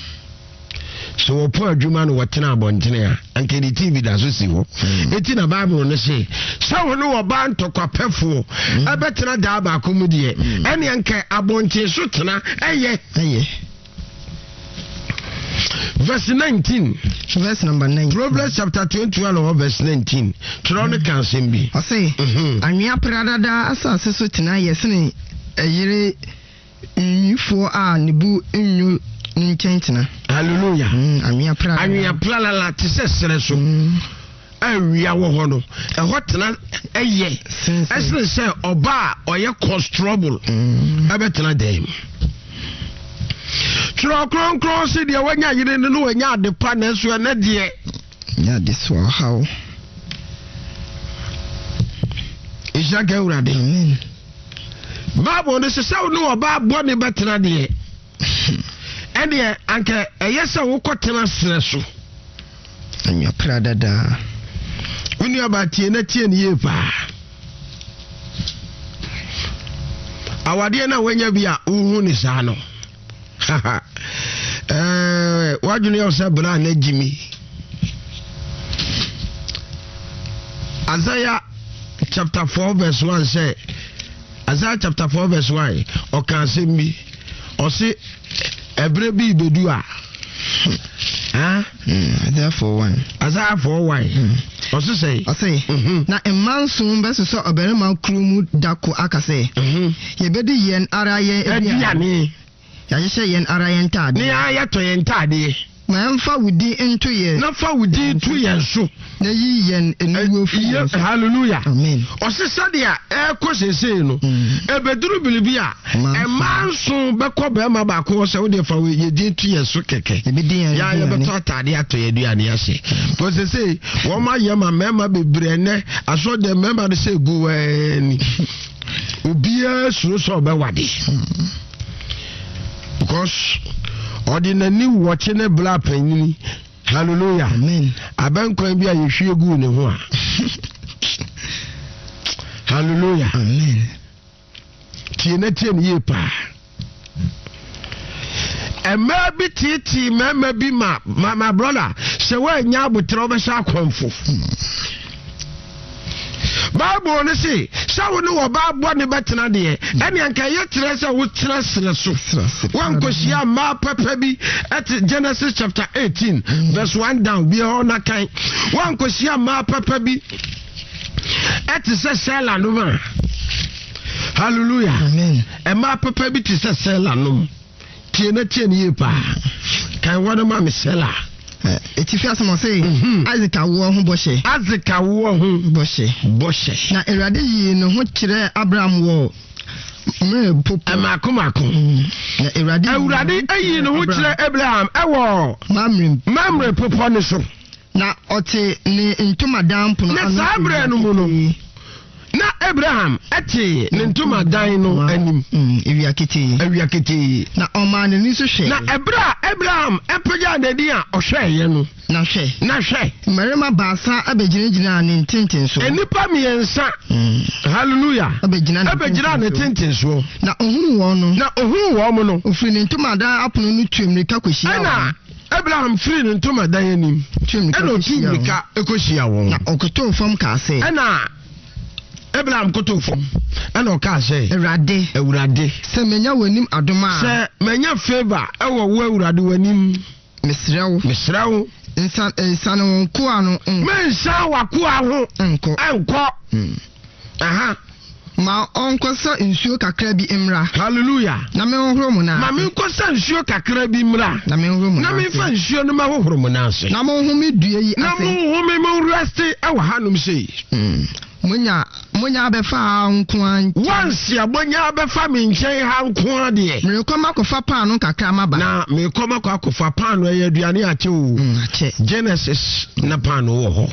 So wɔpɔ adwuma no wɔtena abɔntene a, anka ne T V da so si hɔ. Eti na Bible no se sɛ wo ne wɔba ntɔkwapɛfoɔ mm. ɛbɛtena daa baako mu deɛ, mm. ɛne anka abɔnten so tena ɛyɛ. Ɛyɛ. Verse nineteen. Verse number nineteen. Proverbs chapter twenty-one wɔ verse nineteen. Twerɛ no ka asɛm bi. Ɔse, Mhm. anwea pradada asase so tena yɛ sene ɛyere nwifoɔ a ne bu nnwo ne nkyɛn tena. Hallelujah. Mm, anwea pradada. Anwea plalala te sɛ serɛ so Mm, awia wɔ hɔ no, ɛhɔ tena ɛyɛ sen sɛ. Ɛsene sɛ ɔba a ɔyɛ cause trouble Mm, ɛbɛtena dan mu. Twerɛ Kronkron se deɛ wanya yere no no wanya ade pa, nanso ɛnɛ deɛ nyɛ ade so ɔhaw. Nhyira ka Awurade. Amen. Bible no sɛ sɛ wo ne ɔbaa bɔne bɛtena deɛ, ɛneɛ anka ɛyɛ sɛ wokɔtena serɛ so. Anwea pradada. Wo nuabaa, tie na tie no yie paa. Awadeɛ no a woanya bi a wohu ne saa no, ɛɛ, woadwene yɛ wo sɛ berɛ a na gyimi. Isaiah chapter four verse one sɛ, Isaiah chapter four verse one, ɔka asɛm bi, ɔse ɛberɛ bi bɛdu a, ah? Mm, Isaiah four one. Isaiah four one. Mm. Ɔse sɛ Ɔse, Mhm. na mma nson bɛsosɔ ɔbarima kuro mu da ko aka sɛ, Mhm. yɛbɛdi yɛn ara yɛn aduane. Aduane. Yɛahyehyɛ yɛn ara yɛn ne ntaadeɛ. Yɛa yɛtɔ yɛn ntaadeɛ. Ma ɛmfa wo din nto yɛn. Na fa wo din to yɛn so. Na yi yɛn aniwuo firi Yɛ- yɛn so. Hallelujah. Amen. Ɔse sɛdeɛ ɛrekɔ seesei no, Mm. ɛbɛduru biribi a Mma mmaa nson bɛkɔ bɛrima baako hɔ sɛ, wodeɛ fa wo yɛ din to yɛn so kɛkɛ. Yɛbɛdi yɛn yɛa aduane. Yɛbɛtɔ ataadeɛ atɔ yɛ aduane ase kɔ seesei wɔn ayɛ ma mmarima bebree. Ɛnɛ asɔ deɛ mmarima no sɛ egu wɛɛni, obiara suro sɛ ɔbɛwade because ɔde n'ani wɔkye ne bla panyini. Hallelujah. Amen. Abɛnkwan bi a yɛhwie guu ne ho a, hallelujah. Amen. Tie na tie ne yie paa. Mmaa bi tietie mmarima bi ma ma ma brother, sɛ woanya abotrɛ, wobɛhyɛ akɔmfo. Bible no se sɛ wo ne wɔbaa bɔ ne bɛtena deɛ, ɛne anka ɛyɛ kyerɛ sɛ wotena serɛ so. Woankɔhyia mmaa papa bi ɛte Genesis chapter eighteen verse one down bi hɔ na kan. Woankɔhyia mmaa papa bi ɛte sɛ Sela nom a, hallelujah. Amen. Mmaa papa bi te sɛ Sela nom. Tie na tie ne yie paa. Kan wɔ no ma me, Sela. Ɛ, etifi asɛm, ɔse, Mhm. Isaac awoɔ ho bɔhyɛ. Isaac awoɔ ho bɔhyɛ. Bɔhyɛ. Na Awurade yii ne ho kyerɛɛ Abraham wɔ Mamre popo. Ɛmaako maako. Mm. Na Awurade yii Awurade ayi ne ho Abraham kyerɛ Abraham ɛwɔ Mamre. Mamre popɔ ne so. Na ɔte ne ntomadan pono Na ano saa berɛ no mu no, na Abraham ɛte ne ntomadan no anim. Mm, ewia ketee. Awia ketee. Na ɔmaa n'ani so hwɛ. Na ɛberɛ a Abraham ɛpagyaa n'ani a ɔhwɛeɛ no, Na hwɛ, na hwɛ, mmarima baasa abɛgyinagyinaa ne ntentenso. Nnipa mmiɛnsa, Mm. hallelujah, abɛgyina ne ɛbɛgyina ne ntentenso. tentensoɔ. Na ohunuu wɔn no, Na ohuu wɔn mo no, ofiri ne ntomadan apono no tu mmirika kɔhyia ɛna wɔn. Abraham firi ne ntomadan anim Tu mmirika ɛna otu kɔhyia wɔn. mmirika ɛkɔhyia wɔn. Na ɔkotoo fam kaa sɛ, Ɛna Abraham koto fam ɛna ɔkaa sɛ, Awurade, Awurade, sɛ manya w'anim adom a, sɛ manya favour ɛwɔ wo Awurade w'anim, mesrɛ wo, mesrɛ wo, nsa nsane wo nkoa no nkɔ. Mensan w'akoa ho nkɔ. Ɛnkɔ. Mm. Aha. Ma ɔnkɔsa nsuo kakra bi mmra. Hallelujah. Na menhohoro mo nan Ma ase. menkɔsa nsuo kakra bi mmra. Na menhohoro mo na nan memfa ase. nsuo no mɛhohoro mo nan ase. Na monhome dua yi na ase. monhome, mo rest ɛwɔ hanom sei. Mm. Monya Monya abɛfa ha nko ara nkyɛn. Once a monya abɛfa me nkyɛn ha nko ara deɛ. Merekɔ makɔfa paano kakra maba. Na merekɔ makɔ akɔfa paano, ɛyɛ aduane akyɛ o. Mm, akyɛ. Genesis na paano wɔ hɔ.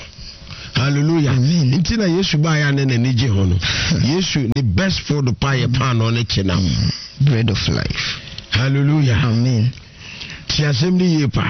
Hallelujah. Amen. Nti na Yesu baeɛ a ne n'ani gye ho no. Yesu ne best food pa yɛ paano ne kyenam. Bread of life. Hallelujah. Amen. Ti asɛm no yie paa.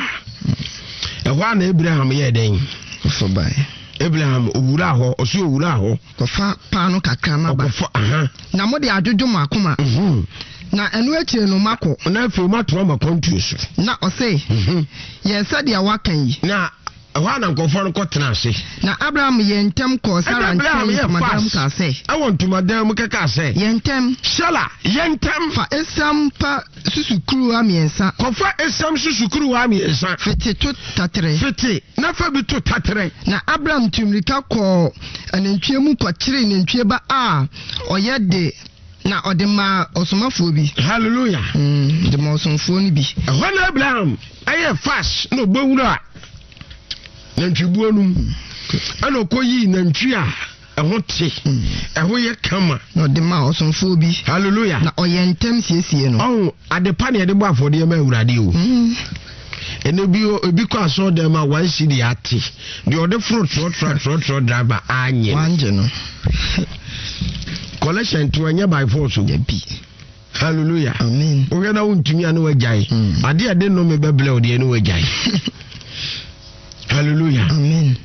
Ɛhɔ a na Abraham yɛɛ dɛn? Ɔfɔ bae. Abraham owura hɔ, ɔso owura hɔ. Kɔfa paano kakra maba. Ɔkɔfa aha. Na mode adwodwo mo akoma. Mhm. Na ɛno akyire no makɔ. Na afei matoa ma kwantuo so. Na ɔse, Mhm. yɛ sɛdeɛ woaka yi. Na ɛhɔ a na nkɔfoɔ no kɔtena ase. Na Abraham yɛ ntɛm kɔɔ Sara Ɛna Abraham nkyɛn yɛ ntomadan mu fast. kaa sɛ, Ɛwɔ ntomadan mu kɛkaa sɛ, yɛ ntɛm. Sara, yɛ ntɛm. Fa esiam pa susukuruwa mmiɛnsa. Kɔfa esiam susukuruwa mmiɛnsa. Fete to taterɛ. Fete na fa bi to taterɛ. Na Abraham tu mmirika kɔɔ anantwie mu kɔkyeree nantwie ba a ɔyɛ de na ɔde maa ɔsomafoɔ bi. Hallelujah. Mm, de maa ɔsomfoɔ no bi. Ɛhɔ na Abraham ɛyɛ fast na ɔbɛwura nantwibuo no mu ɛna ɔkɔyii nantwi a ɛho te, ɛho yɛ kama. Na ɔde maa ɔsomfoɔ bi. Hallelujah. Na ɔyɛ ntɛm siesie no. Ɔho adepa ne yɛde bɔ afɔdeɛ ma Awurade o. Mm. Ɛnɛ bi ebi kɔ asɔre dɛm a one cedi ate deɛ ɔde foro trɔtrɔ trɔtrɔ driver anyɛ no. Wangye no. Collection to ɛnyɛ by force o. Dabi. Hallelujah. Amen. Wohwɛ na wontumi a ne wagyae. Mm. Adeɛ a ɛde nnome bɛbrɛ wo deɛ ne wagyae. Hallelujah. Amen.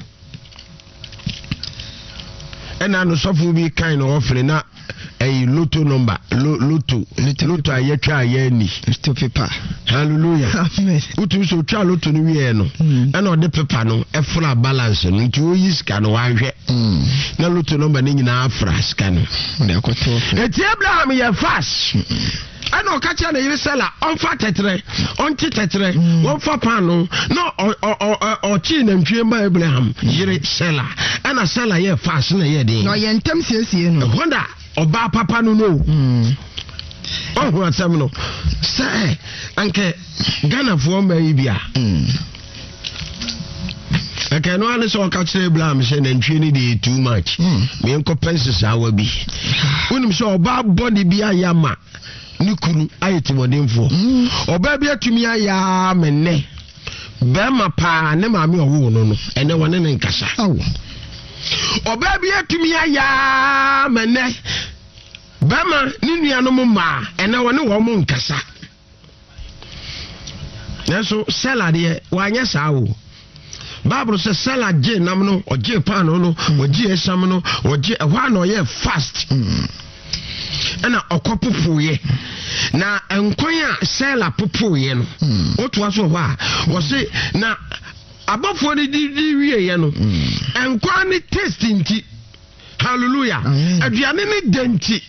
Ɛna no sɔfo bi kan na ɔfere na ɛyi lotto number, lo lotto lotto a yɛtwa a yɛani. Lotto paper. Hallelujah. Amen. Wotumi sɛ otwa lotto no wieɛ no, Mm. ɛna ɔde paper no ɛfra balance no, nti oyi sika no wanhwɛ Mm. na lotto number no nyinaa afra sika no. Ɔde akɔtɔ ɔfɛ. Eti Abraham yɛ fast ɛna ɔka kyerɛ ne yere Sara ɔmfa tɛtrɛ, ɔnte tɛtrɛ, wɔmfa paano na ɔ- ɔ- ɔ- ɔ- ɔkyee nantwie ma Abraham yere Sara, ɛna Sara yɛ fast na yɛ den. Na ɔyɛ ntɛm siesie no. Ɛhɔ na ɔbaa papa no no Mm. ɔho asɛm no sɛ anka Ghanafoɔ mma yi bi a, Mm. ɛka ɛno ane sɛ ɔka kyerɛ Abraham sɛ nantwie no deɛ too much, Mm. meɛnkɔpɛ nsesaawa bi. Wonim sɛ ɔbaa bɔne bi ayɛ ama ne kunu ayɛ timɔdenfoɔ. Mm. Ɔbaa bi atumi ayɛ a me nnɛ bɛrima paa ne maame ɔwoo no no ɛnɛ wɔne ne nkasa. Awo. Ɔbaa bi atumi ayɛ a me nnɛ bɛrima ne nuanom mmaa ɛnɛ wɔne wɔn mo nkasa. Nanso Sara deɛ wanyɛ saa o. Bible sɛ Sara gye nam no, ɔgye paano no, ɔgye esam no, ɔgye ɛhɔ a na ɔyɛ fast Mm. ɛna ɔkɔ popoeɛ. Na nkwan a Sara popoeɛ no, Mm. wotoa so wɔ hɔ a wɔse na abɔfoɔ no didi wieɛ no, Mm. nkwan ne taste nti, hallelujah, Amen. aduane ne dɛ nti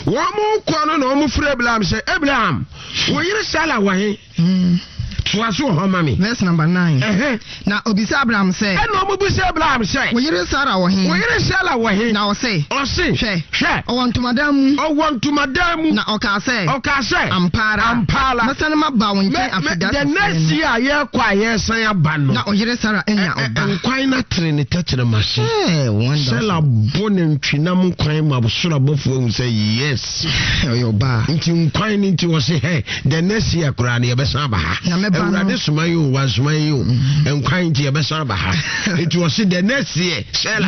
wɔn mo kɔ no na wɔn frɛ Abraham sɛ, Abraham, wo yere Sara wɔ he? Mm. Toa so wɔ hɔ ma me. Verse number nine. Ɛhɛn. Na obisa Abraham sɛ, Ɛna wɔn bisa Abraham sɛ, wo yere Sara wɔ he? Wo yere Sara wɔ he? Na ɔse, Ɔse, hwɛ, hwɛ, ɔwɔ ntomadan mu. Ɔwɔ ntomadan mu. Na ɔkaa sɛ, Ɔkaa sɛ, ampa ara, ampa ara, mɛsane maba wo nkyɛn mɛ mɛ afeda the next year a yɛrekɔ a yɛresan aba no, na ɔyere Sara anya ɛ- ɛ- ɔba. Nkwan no atere ne tɛkyerɛma se. Hey, wonderful. Sara bɔ nantwinam nkwan ma soro abɔfoɔ ahu sɛ yes. Ɔyɛ ɔbaa. Nti nkwan no nti wɔse hɛ, the next year koraa no yɛbɛsan aba ha. Na mɛba no- Awurade soma yi o, wansoma yi o, nkwan nti yɛbɛsan aba ha. Nti wɔse the next year Sara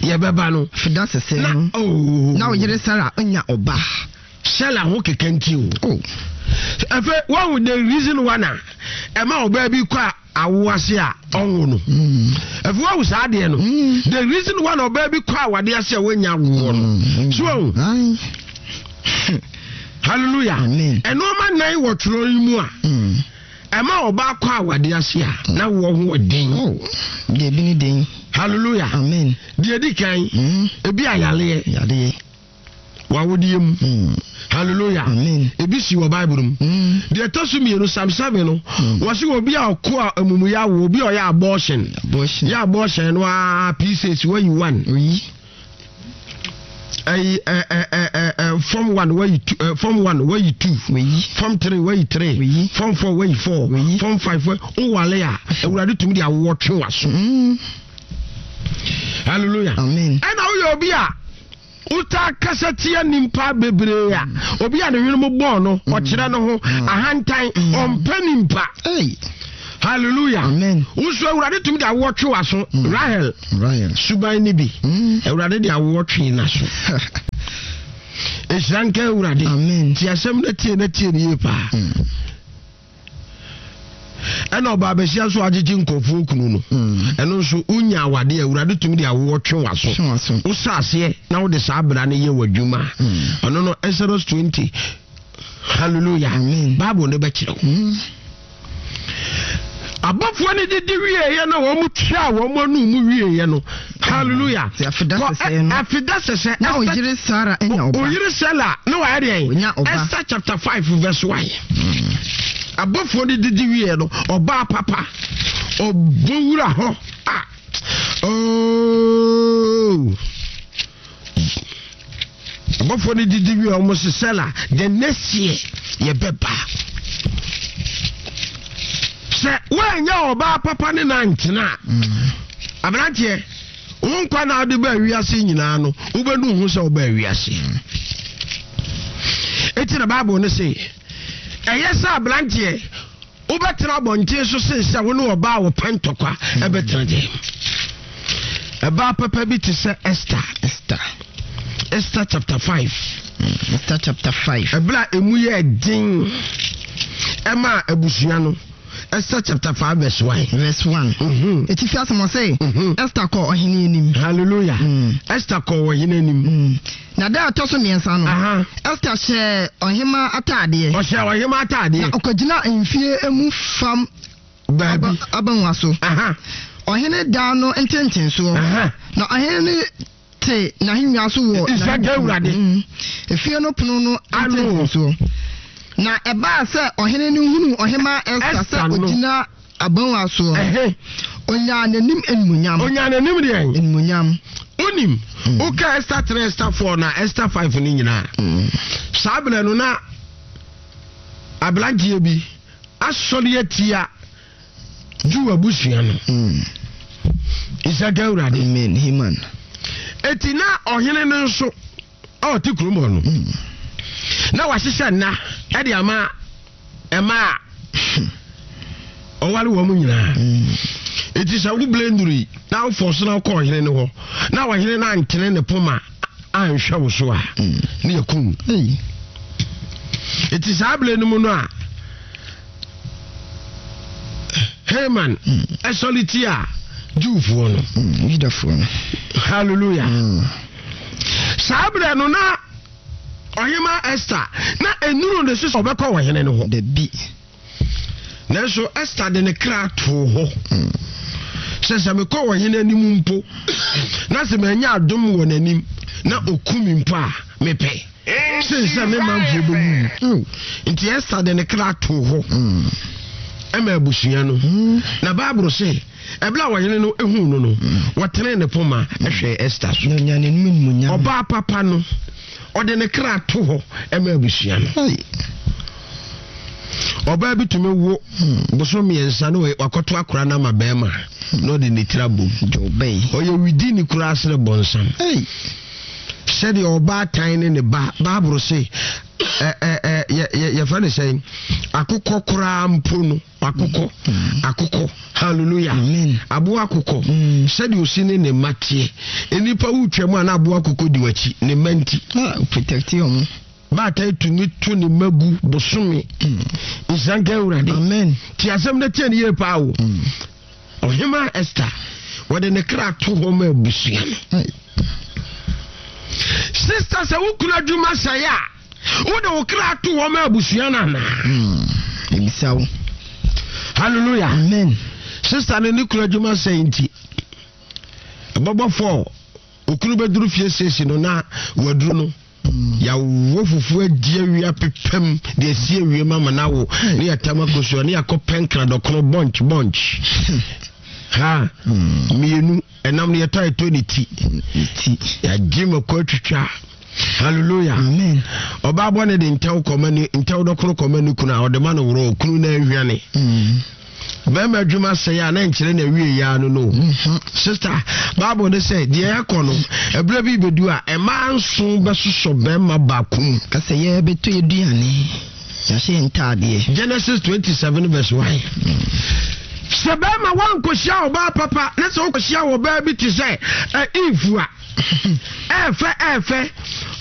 yɛbɛba no Fida sese na no. oh, Na ɔyere Sara anya ɔba. Sara ho keka nti o. Oh. Ɛfɛ wɔn the reason one a ɛma ɔbaa bi kɔ a awo ase a ɔnwo no, Mm. ɛfɛ wɔn saa adeɛ no, Mm. the reason one ɔbaa bi kɔ awadeɛ ase a wɔnya awoɔ no Mm. so wɔn. Aye. Hallelujah. Amen. Ɛnneɛma nan wɔ twerɛ yi mu a Mm. ɛma ɔbaa kɔ awadeɛ ase a na wɔ ho ɔden. Oh. Deɛ ebi ne den. Hallelujah. Amen. Deɛ di kan, Mm. ebi ayaleɛ Yadeɛ. wawodeɛ mu. Mm. Hallelujah. Amen. Ebi si wɔ Bible mu. Mm. Deɛ ɛtɔ so mmienu, Psalm seven no, Mm. wɔsi obi a ɔkɔ a amumuyɛ awo, obi a ɔyɛ abortion. Abortion. Yɛ abortion no aa, P six wayi one, Oyi. Ɛyi ɛ ɛ ɛ ɛ ɛ form one wayi two, ɛ form one wayi two, Oyi. form three wayi three, Oyi. form four wayi four, Oyi. form five wayi. Owale a, Awurade tumi de awoɔ twe wa so. Mm. Hallelujah. Amen. Ɛna woyɛ obi a wotaa kasa tia nimpa bebree a, obi a ne hwene mu bɔɔ no, ɔkyerɛ no ho ahantan, ɔmpɛ nimpa. Hey. Hallelujah. Amen. Wosu Awurade tumi de awoɔ twe w'aso. Rahel Ryan. suban ne bi. Mm. Awurade de awoɔ twe n'aso. Ɛhyira nka Awurade. Amen. Ti asɛm no tie na tie no yie paa. Mm. Ɛna ɔbaa bɛhyia nso agyegye nkurɔfoɔ kunu no. Mm. Ɛno nso wonya awadeɛ, Awurade tumi de awoɔ twe w'aso. Twe w'aso. Wosɛ aseɛ na wode saa abra no yɛ w'adwuma. Mm. Ɔno no Exodus twenty. Hallelujah. Amen. Bible no bɛkyerɛ wo. Mm. Abɔfoɔ no didi wieeɛ no, wɔn tua wɔn anum mu wieeɛ no. Hallelujah. Nti afeda Kɔ- sɛsɛɛ no. ɛ- Afeda sɛsɛ. Na Esther- ɔyere Sara anya ɔba. Oyere Sela ne wayɛ deɛn? Onya ɔba. Esther chapter five verse one. Abɔfoɔ no didi wieeɛ no, ɔbaa papa ɔbɔ wura hɔ a, oh. Abɔfoɔ no didi wie, ɔmo se Sela, the next year yɛbɛba. Sɛ woanya ɔbaa papa ne nantena a, aberanteɛ, wo nkwa na wode baa wiase nyinaa no, wobɛnu ho sɛ wobaa wiase. Enti na Bible no se ɛyɛ sɛ aberanteɛ wobɛtena abɔnten so sen sɛ wo ne ɔbaa a wɔpɛ ntɔkwa ɛbɛtena dɛm. Ɛbaa papa bi te sɛ Esther. Esther. Esther chapter five. Mm. Esther chapter five. Ɛberɛ a emu yɛ den ɛma abusua no, Esther chapter five verse one. Verse one. Mhm. Etifi asɛm ɔse, Mhm. Esther kɔɔ ɔhene anim. Hallelujah. Mm. Esther kɔɔ ɔhene anim. Mm. Na da a ɛtɔ so mmiɛnsa no, Aha. Esther hyɛɛ ɔhema ataadeɛ. Ɔhyɛ ɔhema Na ataadeɛ. ɔkɔgyina mfie mu fam Baabi. aba- abangua so. Aha. Ɔhene daa no ntentensoɔ. Aha. Na ɔhene no te n'ahengua so wɔ Nhyira nka Awurade. Mm. Efie no pono no Ano. ntentensoɔ. Na ɛbaa sɛ ɔhene no hunu ɔhema Esther Esther sɛ no. ogyina abangua soɔ. Ɛhɛ. Onyaa n'anim animuonyam. Onya n'anim deɛ. Animuonyam. Onim. Woka Esther three, Esther four na Esther five no nyinaa. Mm. Saa berɛ no na aberanteɛ bi asɔre atia Jew abusua no. Mm. Nhyira nka Awurade. Amen. Haman. Eti na ɔhene no nso a ɔte kurom hɔ no, Mm. na wahyehyɛ nna ɛde ama ɛma a ɔware wɔn nyinaa. Mm. Eti sɛ wo blenduru yi na wofɔ so na wokɔ ɔhene no hɔ na ɔhene no antene ne poma anhwɛ wo so a, Mm. ne yɛ kum. Hey. Eti saa abere no mu no a Haman ɛsɔre tia Jewfoɔ no. Mm. Yudafoɔ no. Hallelujah. Mm. Saa abere no na ɔhema Esther na enuru ne so sɛ ɔbɛkɔ ɔhene no hɔ. Dabi. Nanso Esther de ne kra too hɔ Mm. sɛ sɛ mekɔ ɔhene anim mpo na sɛ manya adom wɔ n'anim na oku me mpo a, mepɛ sen sɛ me manfoɔ bɛwu. Oh. Nti Esther de ne kra too hɔ Mm. ɛma abusua no. Mm. Na Bible sɛ ɛberɛ a ɔhene no ehuu no no, wɔtene ne poma ɛhwɛ Esther so. Na onyaa n'anim animuonyam. Ɔbaa papa no, ɔde ne kra to hɔ ɛma abusua no. Hey. Ɔbaa bi tumi wo bosom mmiɛnsa na wakɔto akora no ama bɛrima na ɔde ne tiri abom. Jɔbɛyi. Ɔyɛ widi ne koraa sere bɔnsam. Hey. Sɛdeɛ ɔbaatan ne ne ba, Bible se ɛ ɛ ɛ yɛ yɛ yɛfrɛ ne sɛn, akokɔ koraa mpo no, akokɔ, akokɔ, hallelujah. Amen. Aboa akokɔ, Mm. sɛdeɛ osi ne ne mma teɛ. Nnipa wotwa mu a na aboa akokɔ di w'akyi ne mma nti. Ah, protect ɔmo. Baatan tumi to ne mma gu bosome. Mm. Nhyira nka Awurade. Amen. Ti asɛm no tie ne yie paa o. Mm. Ɔhema Esther, wɔde ne kra to hɔ ma abusua no. Hey. Sister, sɛ wo kunu adwuma sɛe a, wode wo kra to hɔ ma abusua no anaa? Mm. Ebisa wo. Hallelujah. Amen. Sister no ne kunu adwuma sɛe nti, ɛbɛbɔ fɔɔ okunu bɛduru fie siesie no na waduru no, Mm. yɛawo fufuo adi awia pepɛm de asi awie ma ma no awo ne yɛtam akosua ne yɛakɔ pɛnkra dɔkono bunch bunch ha Mm. mmienu ɛnam no yɛtɔ a yɛtɔ ne ti. Ne ti. Yɛagye mako atwitwa. Hallelujah. Amen. Ɔbaa bɔ ne de ntɛw kɔma ne ntɛw dɔkono kɔma ne kunu a ɔde ma no worɔ okunu na ahwane. Mm. Bɛrima adwuma sɛe a na nkyerɛ na awie yia no no. Sister, Bible ne sɛ deɛ ɛkɔ no, ɛberɛ bi bɛdu a ɛmaa nson bɛsosɔ bɛrima baako mu. Kasɛ yɛbɛtɔ aduane, yɛahyɛ yɛn ntaadeɛ. Genesis twenty-seven verse one. Sɛ bɛrima wankɔhyia ɔbaa papa na sɛ wokɔhyia ɔbaa bi te sɛ Eve a ɛɛfɛ ɛɛfɛ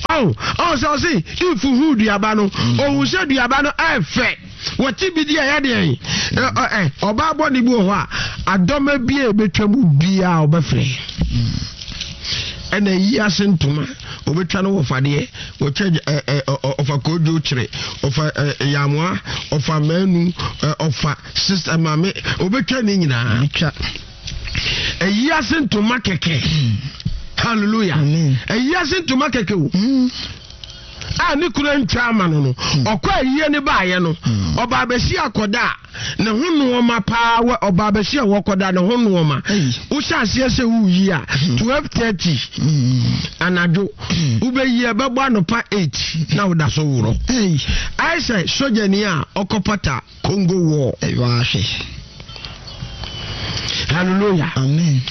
ɔn ɔn sɛ ɔse Eve hu duaba no, ɔhu sɛ duaba no ɛɛfɛ, wɔte bi di a ɛyɛ deɛn? Ɛ ɔbaa bɔne bi wɔ hɔ a adɔma bi a ɛbɛtwa mu biara ɔbɛfrɛ. Ɛna yi ase ntoma ɔbɛtwa no wɔfadeɛ, wɔtwa ɛ ɛ ɔfa koodwo kyerɛ, ɔfa ɛ yamoa, ɔfa mmaanu, ɔfa sista maame, ɔbɛtwa ne nyinaa. Ɛyi ase ntoma kɛkɛ. Hallelujah. Ɛyi ase ntoma kɛkɛ o. A ne kura ntwa ama no no. Ɔkɔ ayie ne baayɛ no. Ɔbaa bɛsi akɔda a ne ho nnoɔma paa wɔ ɔbaa bɛsi a wɔkɔda ne ho nnoɔma. Wohyɛ aseɛ sɛ woyi a twelve thirty anadwo wobɛyi ɛbɛbɔ anɔpa eight na woda so worɔ. Ayɛ sɛ sogyani a ɔkɔpata Congo War. Hallelujah. Amen.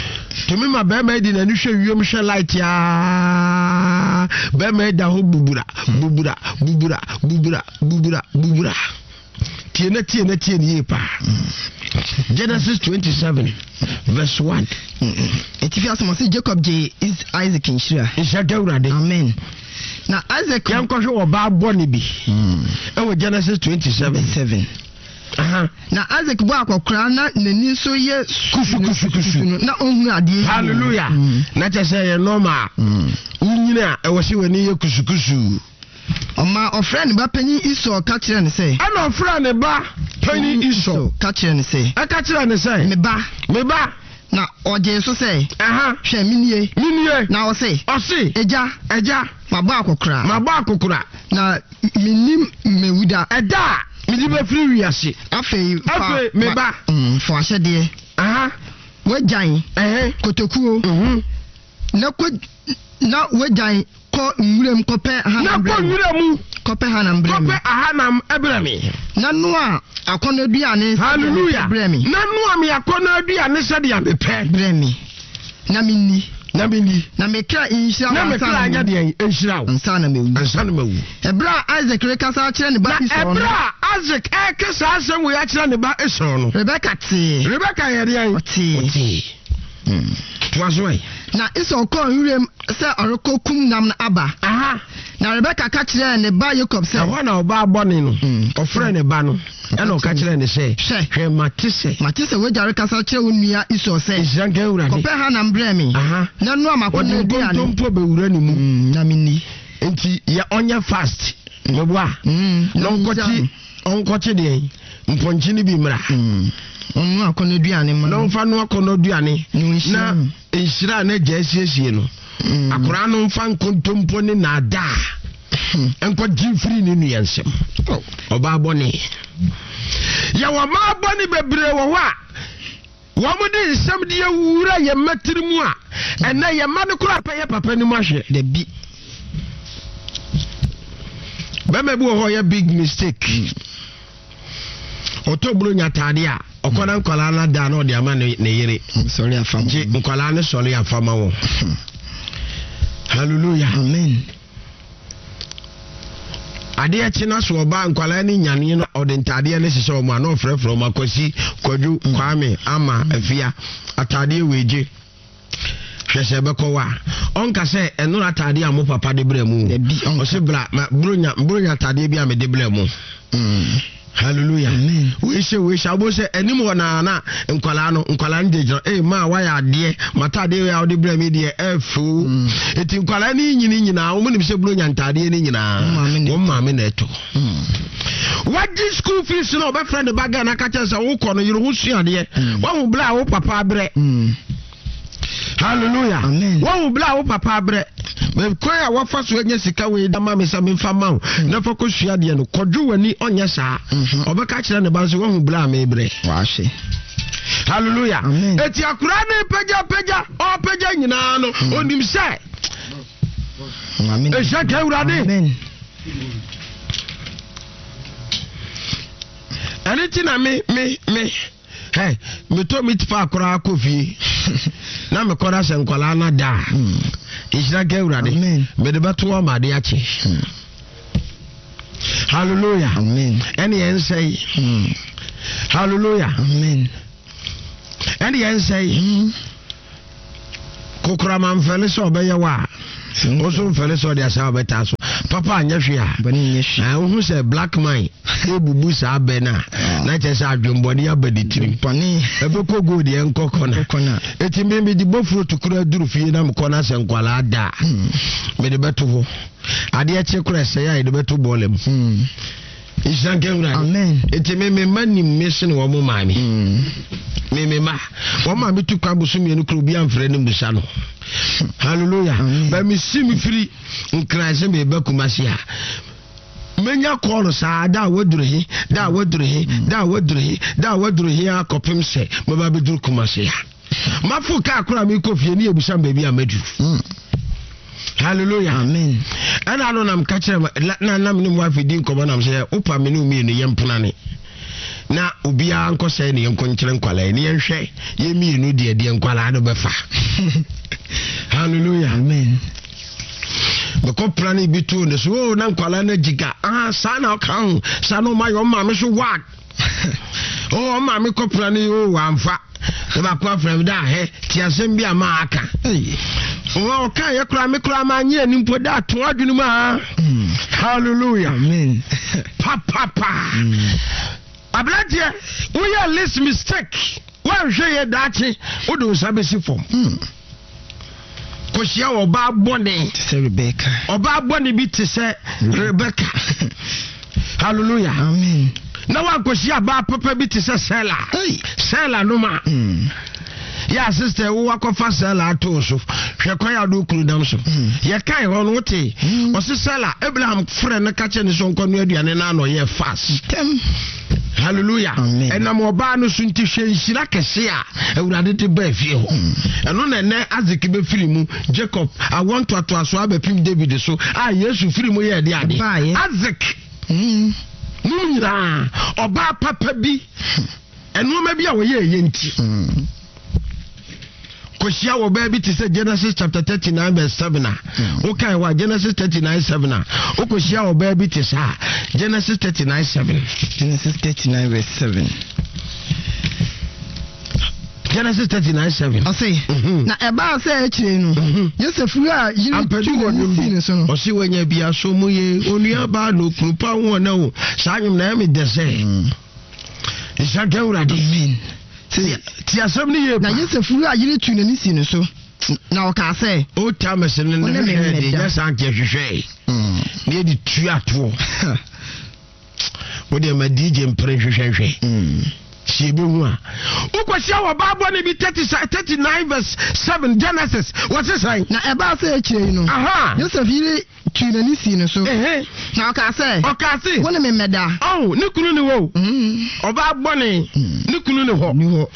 Tumi ma bɛrima di n'ani hwɛ wiem hwɛ light yaa. Bɛrima da hɔ bubura bubura bubura bubura bubura bubura. Tie na tie na tie ne yie paa. Genesis twenty-seven verse one. Etifi asɛm ɔsɛ Jacob gye Isaac nhyira. Nhyira gawurade. Amen. Na Isaac yɛnkɔhwɛ ɔbaa bɔne bi ɛwɔ Genesis twenty-seven. Seven. Aha. Na Isaac bɔ akɔkora na n'ani nso yɛ kusu kusu kusu na ɔnhunu adeɛ. Hallelujah. Na kyerɛ sɛ yɛ normal. Wonyini a ɛwɔ sɛ w'ani yɛ kusu kusu. Ɔma ɔfrɛ ne ba panyin Esau ka kyerɛ ne sɛ. Ɛna ɔfrɛ ne ba panyin Esau ka kyerɛ ne sɛ. Ɛka kyerɛ ne sɛ. Me ba. Me ba. Na ɔgye so sɛ. Aha. Hwɛ minie. Minie. Na ɔse. Ɔse. Agya. Agya. Mabɔ akɔkora. Mabɔ akɔkora. Na minim mewuda. Ɛda a mede bɛfiri wiase. Afei fa. Afei me ba. Fa ahyɛdeɛ. Aha. Wagyan. Ɛhɛ. Kotokuo. Mhm. Na kɔ na wagyan kɔ nwuram kɔpɛ ahanam brɛ mi. Na kɔ nwura mu. Kɔpɛ hanam brɛ mi. Kɔpɛ ahanam brɛ mi. Na noa akɔnnɔ aduane. Hallelujah. Brɛ mi. Na noa mi akɔnnɔ aduane sɛdeɛ mepɛ. Brɛ mi. Na menni. Na menni. Na me kra nhyira wo. Na me kra nyɛ deɛ nhyira wo. Ansa na mewu. Ansa na mewu. Ɛberɛ a Isaac rekasa akyerɛ ne ba Esau no. Na ɛberɛ a Isaac rekasa asɛm wei akyerɛ ne ba Esau no. Rebeka tee. Rebeka yɛ deɛn? Ɔtee. Ɔtee. Toa so ɛ. Na Esau kɔɔ nwuram sɛ ɔrekɔ kum nam no aba. Aha. Na Rebeka ka kyerɛɛ ne ba Yakob sɛ. Ɛhɔ na ɔbaa bɔne no. Ɔfrɛɛ ne ba no. Ɛna ɔka kyerɛɛ ne sɛ. Hwɛ. Hwɛ mate sɛ. Mate sɛ w'agya rekasa kyerɛ wo nua Esau sɛ. Nhyira nka Awurade. Kɔpɛ hanam brɛ me. Aha. Na noa m'akɔnnɔ Ɔde aduane. nkontompo bɛwura ne mu. Na menni. Nti yɛ ɔnyɛ fast. Meboa. Na Na ɔnkɔkye ɔnkɔkye deɛ mpɔnkye no bi mmra. Ɔno akɔnnɔ aduane ma. Na ɔmfa no akɔnnɔ aduane. Na nhyira a n'agya asiesie no. Akwaraa no mfa nkontompo ne naadaa nkɔgye mfiri ne nua nsam. Ɔbaa bɔne. Yɛwɔ mmaa bɔne bebree wɔ hɔ a wɔn de nsɛm de awura yɛn mma tiri mu a ɛnɛ yɛn mma no koraa pɛ yɛ papa no mu ahwɛ. Dabi. Bɛrima bi wɔ hɔ ɔyɛ big mistake. Ɔtɔ buro nya ataade a ɔkɔ na nkwadaa no ada na ɔde ama ne ne yere. Sɔre afa ma. Gye nkwadaa no sɔre afa ma wɔn. Hallelujah. Amen. Adeɛ kye na so ɔbaa nkwadaa no nyane no ɔde ntaadeɛ no hyehyɛ wɔn a na ɔfrɛfrɛ wɔn Akwasi, Kwadwo, Kwame, Ama, Afia ataadeɛ wei gye. Hwɛ sɛ ɛbɛkɔ wa ɔnka sɛ ɛnora ataadeɛ a mo papa de brɛ mu. Ɔse bra ma bronya bronya ataadeɛ bi a mede brɛ mo. Hallelujah. Wei hyɛ wei hyɛ abo sɛ anim hɔ naa na nkwalaa no nkwalaa no gyinagyina ee maa wayɛ adeɛ mataadeɛ wei a wode brɛ mi deɛ ɛfo. Eti nkwalaa no nyini nyinaa wɔn nim sɛ bronya ntaadeɛ no nyinaa wɔn maame na ɛtɔ. Wagye school fees na ɔbɛfrɛ ne ba Ghana ka kyerɛ sɛ wokɔ no yere ho sua adeɛ. Wahu bla a wo papa abrɛ. Hallelujah. Wahu bla a wo papa abrɛ. Kwan a wafa so anya sika wei da ma me sɛ memfa ma wo na fa kɔsua adeɛ no kɔdwo w'ani ɔnyɛ saa. Ɔbɛka kyerɛ ne ba nso wahu bla a mebrɛ. Wahwɛ. Hallelujah. Eti akora ne pagya pagya ɔpagya nyinaa no onim sɛ ɛhyɛ ka Awurade. Ɛne ti na me me me Hey, metɔ meat pie koraa kɔ fie na mekɔda sɛ nkwalaa no da a, nhyira nka Awurade, mede bɛto hɔ ma ade akye. Hallelujah. Amen. Ɛne yɛn nsɛe. Hallelujah. Amen. Ɛne yɛn nsɛe. Kokorama mfɛle sɛ ɔbɛyɛ wɔ a, wo so mfɛle sɛ ɔde asa ɔbɛtaa so. Papa anyɛ hwee a, wohu sɛ black man ɛbubu saa bɛ no a, na kyerɛ sɛ adwembɔne aba ne tirim. Ɛbɛkɔ gold yɛnkɔ kɔna. Ɛti me mede bɔfuro tukura duru fie na mekɔ no asɛ nkwalaa da a, mede bɛto hɔ. Adeɛ kye korɛ sɛe a yɛde bɛto bɔɔla mu. Nhyira nka Awurade. Amen. Enti me me mma nim me sene wɔn maame. Me me mma wɔn maame tu kwan boso mmienu koro obi amfrɛ ne mmusa no. Hallelujah. Bɛ me si me firi Nkran sɛ meba Kumasi a, menya kɔɔlo saa da a waduru he, da a waduru he, da a waduru he, da a waduru he akɔpem sɛ mɛba bɛduru Kumasi a. Mafo kaa koro a mekɔ fie ne yɛbusa me baabi a maduru. Hallelujah. Amen. Ɛna ano nam ka kyerɛ na nam ne mu afi di nkɔmɔ nam sɛ wopa me ne mmienu yɛ mpenane na obiara nkɔ sɛ ne yɛnkɔ nkyerɛ nkwalaa ne yɛnhwɛ yɛ mmienu deɛ deɛ nkwalaa no bɛfa. Hallelujah. Amen. Mekɔ prane bi too ne so o na nkwalaa no agyiga ah saa na ɔka ho saa na ɔma yɛ ɔma me so wag o ɔma me kɔ prane o wamfa na baako afrɛ me da ahɛ te asɛm bi a ma aka ɔka yɛ koraa me koraa ma anyɛ ani mpo da ato adwene mu a. Hallelujah. Amen. Papapa. Aberanteɛ, woyɛ least mistake woanhwɛ yɛ daakye wode wo nsa bɛsi fam. Kɔhyia ɔbaa bɔne te sɛ Rebecca. Ɔbaa bɔne bi te sɛ Rebecca. Hallelujah. Amen. Na wankɔhyia baa papa bi te sɛ Sela. Sela no ma. Yɛ sister wo wakɔfa Sela ato so. Hwɛ kwan a do kunu dam so. Yɛ kan hɔ no wote. Ɔse Sela Abraham frɛ no ka kyerɛ ne so nkɔ no aduane na ano yɛ fast. Tem. Hallelujah. Ɛnam ɔbaa no so nti hwɛ nhyira kɛse a Awurade de baa fie hɔ. Ɛno na ɛnɛ Isaac bɛfiri mu, Jacob awɔ ntoatoasoɔ abɛpem David so a Yesu firi mu yɛ ɛde ade. Isaac mum nyinaa ɔbaa papa bi ɛnoɔma bi a wɔyɛ ɛyɛ nti. Kɔhyia wɔ baa bi te sɛ Genesis chapter thirty-nine verse seven a wokae hɔ a Genesis thirty-nine seven a wokɔhyia wɔ baa bi te saa Genesis thirty-nine seven. Genesis thirty-nine verse seven. Genesis thirty-nine seven. Ɔse na ɛbaa sɛ akyire no Yosef wura yere tu n'ani sii ne so no. Ɔse wanya bi aso mu ye onua baa no kunu pa ho na o saa nwom na ɛme dɛ sɛ. Nhyira nka Awurade. Amen. Ti asɛm ne yie pa. Na Yosef wura yere tu n'ani sii ne so na ɔkaa sɛ. O Thomas ne ne hwehwɛ de nyɛ saa nkyɛ hwehwɛ. Ne yɛde tua toɔ. Wo deɛ ma D J mpere nhwehwɛhwɛ. Si ebehu a. Wokɔhyia wɔ baa bɔne bi thirty-nine verse seven Genesis wɔse sɛn. Na ɛbaa sɛ akyire yi no. Yosef yere tu n'ani sii ne so. Na ɔkaa sɛ. Ɔkaa se. Wo ne me mmɛda. Ɔho ne kunu ne hɔ. Ɔbaa bɔne ne kunu ne hɔ. Ne hɔ.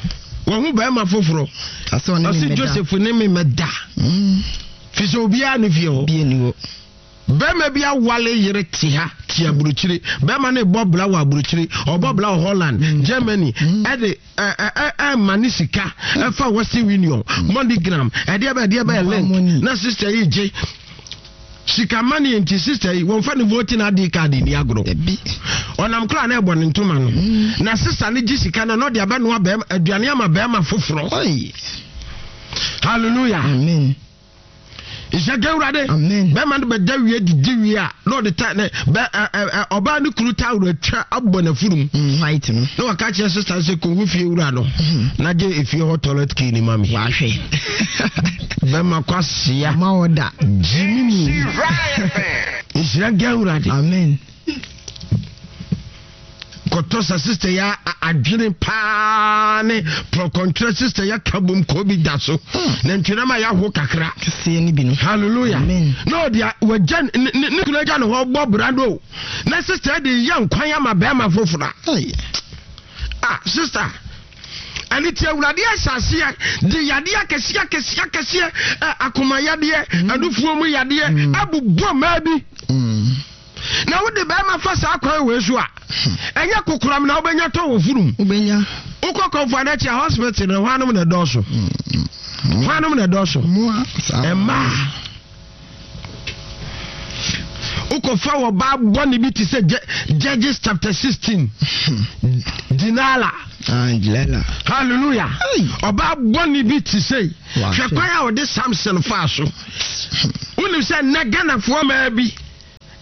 Wɔn ho bɛrima foforɔ. Ɔse Joseph ne me mmɛda. Fi sɛ obiara ne fie hɔ. Bie ne hɔ. Bɛrima bi awale yere te ha te aburokyire. Bɛrima ne bɔ bla wɔ aburokyire. Ɔbɔ bla wɔ Holland, Germany. Ɛde ɛ ɛ ma ne sika ɛfa Western Union, MoneyGram. Ɛdeɛ bɛ ɛdeɛ bɛ link. Na sister yi gye. Sika money nti sister yi wɔn fa ne voting I D card ni agorɔ. Ɔnam koraa na ɛbɔ ne ntoma no. Na sister ne gye sika na n'ɔde abɛnoa bɛrima aduane ama bɛrima foforɔ. Hallelujah. Amen. Nhyɛ Awurade. Amen. Bɛrima no bɛda wie didi wie a na ɔde ta ne bɛ ɛ ɛ ɔbaa ne kunu tawuro atwa abɔ n'afurum. White no. Na waka kyerɛ sister sɛ kɔhu fie wura no. Na gye efie hɔ toilet key ni ma me. Wahwɛ. Bɛrima kwasia. Ma ɔda. Gyimi ni. Nhyira Awurade. Amen. Kɔtɔ sa sister ya adwene paa ne prɔkɔntwerɛ sister ya ka bom kɔ bi da so. Na ntwerɛ ma yɛaho kakra. Kɛseɛ ne bi no. Hallelujah. Amen. Na ɔde a wagya ne ne kunu agya ne hɔ bɔ brando. Na sister de yɛ nkwan ama bɛrima foforɔ. Ah sister. Ɛne ti Awurade ahyɛaseɛ de yadeɛ akɛseɛ akɛseɛ akɛseɛ akoma yadeɛ anufuo mu yadeɛ abobɔ mmaa bi. Na wode bɛrima fa saa kwan wei so a ɛnyɛ kokoram na wobɛnya tɔ wɔ furum. Wobɛnya. Wokɔ Komfo Anokye a, hospital no, hwanom na ɛdɔɔso? Hwanom na ɛdɔɔso? Mmaa. Wokɔfa wɔ baa bɔne bi te sɛ Judges chapter sixteen. Dinala. Hallelujah. Ɔbaa bɔne bi te sɛ hwɛ kwan a ɔde Samson faa so. Wonim sɛ nnɛ Ghanafoɔ maa bi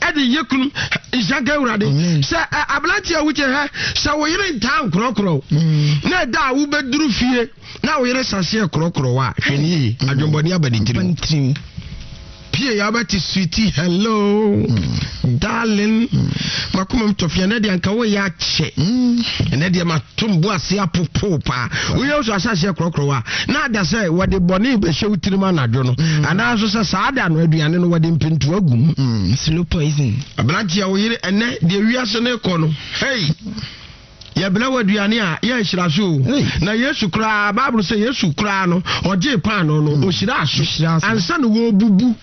ɛde yɛ kunu nhyɛnka Awurade sɛ aberante a wokyɛ hɛ sɛ wo yere ntaa nkorɔkorɔ na ɛda a wobɛduru fie na wo yere saseɛ korɔkorɔ a, hwɛ ne yie, adwembɔne aba ne tirim. Pie ya wobɛte sweetie hello mm. darling mm. Makoma m tɔfea ɛnɛ deɛ anka woyɛ akyɛ, ɛnɛ deɛ matom bo ase apopo paa. Woyɛ so ahyɛaseɛ korɔkorɔ a, na ada sɛ wɔde bɔne bɛhyɛ wo tirim anadwo no, anaa nso sɛ saa da no aduane no wɔde mpentoa gu mu. Slow poison. Aberanteɛ, wo yere ɛnɛ deɛ wiase no kɔ no, hey, yɛbrɛ wɔ aduane a yɛ nhyira so o. Na Yesu koraa, Bible sɛ Yesu koraa no, ɔgyee paano no, ɔhyiraa so ansa na wɔbubu.